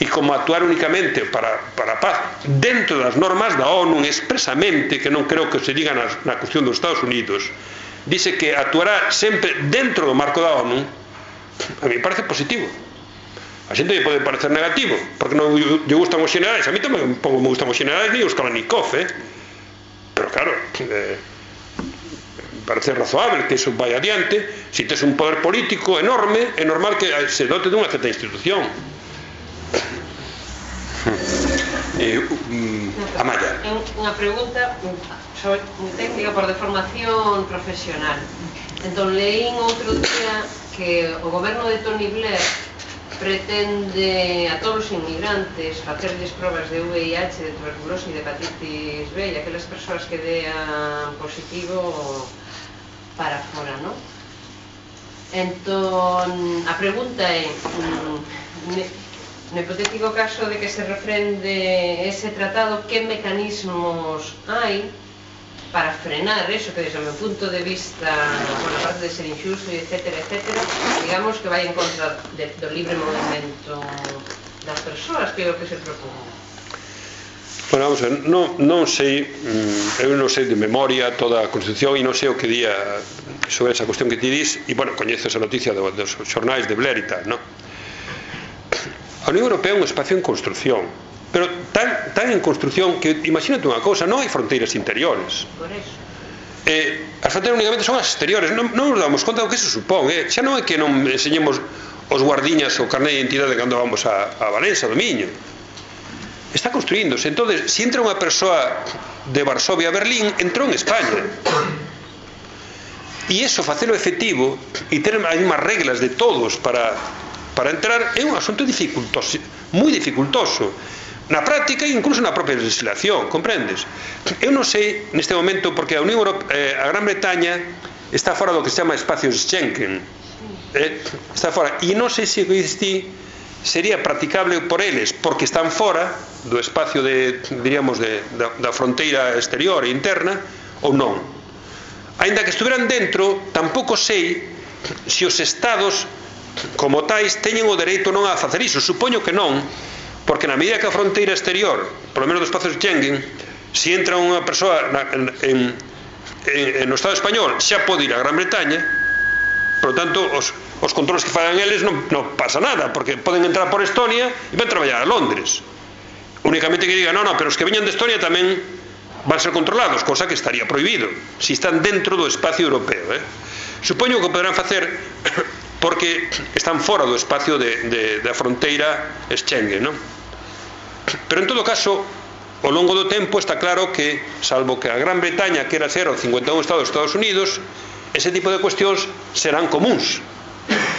e como actuar únicamente para, para a paz dentro das normas da ONU, expresamente, que non creo que se diga na, na cuestión dos Estados Unidos, dice que actuará sempre dentro do marco da ONU, a mí me parece positivo. A xente lle pode parecer negativo, porque non lle gustan os generais. A mí tamén me gustan os generais ni os Kalashnikov, eh? Pero claro, eh, parece razoable que eso vai adiante. Se tes un poder político enorme, é normal que se dote dunha certa institución. Eh, um, Amaya. Unha pregunta sobre técnica por deformación profesional. Entón, leín outro día que o goberno de Tony Blair pretende a todos os inmigrantes facerles probas de V I H, de tuberculose e de hepatitis B, e aquelas persoas que dean positivo para fora, non? Entón, a pregunta é, no hipotético caso de que se refrende ese tratado, que mecanismos hai para frenar eso que desde o meu punto de vista, por a parte de ser injusto, etcétera, etcétera, digamos que vai en contra de, do libre movimento das persoas, que é o que se propón. Bueno, vamos a ver, non, non sei, eu non sei de memoria toda a Constitución e non sei o que día sobre esa cuestión que ti dis, e, bueno, coñezo esa noticia dos, dos xornais de Blair e tal, non? A Unión Europea é un espacio en construcción, pero tan, tan en construcción que, imagínate unha cousa, non hai fronteiras interiores. Por eso. Eh, as fronteiras únicamente son as exteriores, non, non nos damos conta do que eso supón, eh? Xa non é que non enseñemos os guardiñas o carné de identidade cando vamos a, a Valencia, do Miño. Está construíndose. Entonces, si entra unha persoa de Varsovia a Berlín, entrou en España. E iso, facelo efectivo e ter as mesmas reglas de todos para, para entrar, é un asunto dificultoso, moi dificultoso. Na práctica e incluso na propia legislación, comprendes? Eu non sei neste momento, porque a Unión Europea, eh, a Gran Bretaña está fora do que se chama espacios Schengen, eh, está fora, e non sei se existe, sería practicable por eles, porque están fora do espacio de, diríamos, de, da, da fronteira exterior e interna, ou non. Aínda que estuveran dentro, tampouco sei se os estados como tais teñen o dereito non a facer iso. Supoño que non, porque na medida que a fronteira exterior, polo menos do espacio de Schengen, se entra unha persoa na, en, en, en, no Estado español, xa pode ir a Gran Bretaña. Por lo tanto, os, os controles que fagan eles non, non pasa nada, porque poden entrar por Estonia e van traballar a Londres. Únicamente que digan, non, non, pero os que veñan de Estonia tamén van ser controlados, cosa que estaría prohibido si están dentro do espacio europeo, eh? Supoño que poderán facer porque están fora do espacio de, de, da fronteira Schengen, non? Pero en todo caso, ao longo do tempo está claro que, salvo que a Gran Bretaña quera ser o cincuenta e un estado dos Estados Unidos, ese tipo de cuestións serán comuns,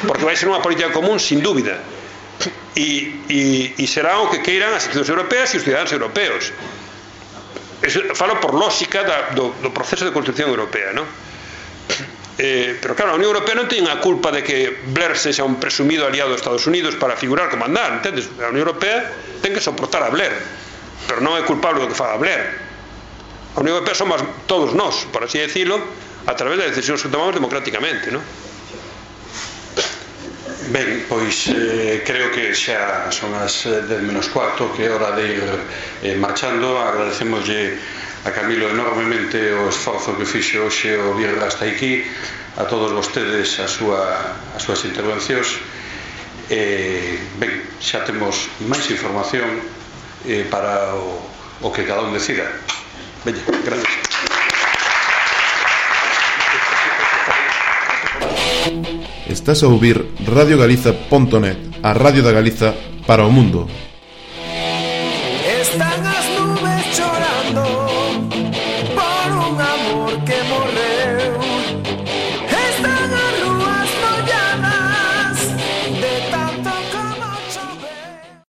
porque vai ser unha política común sin dúbida, e, e, e será o que queiran as institucións europeas e os ciudadanos europeos. Eso, falo por lógica da, do, do proceso de construcción europea, non? Eh, pero claro, a Unión Europea non ten a culpa de que Blair sexa un presumido aliado dos Estados Unidos para figurar como andar, entendes? A Unión Europea ten que soportar a Blair, pero non é culpable do que faga Blair. A Unión Europea somos todos nós, por así decirlo, a través das decisións que tomamos democráticamente, non? Ben, pois eh, creo que xa son as dez menos cuarto, que é hora de ir eh, marchando. Agradecemoslle a Camilo enormemente o esforzo que fixo hoxe o vir hasta aquí, a todos vostedes a súa, as súas intervencións. Eh, ben, xa temos máis información eh, para o, o que cada un decida. Ben, gracias. Estás a ouvir radio galiza punto net, a radio da Galiza para o mundo.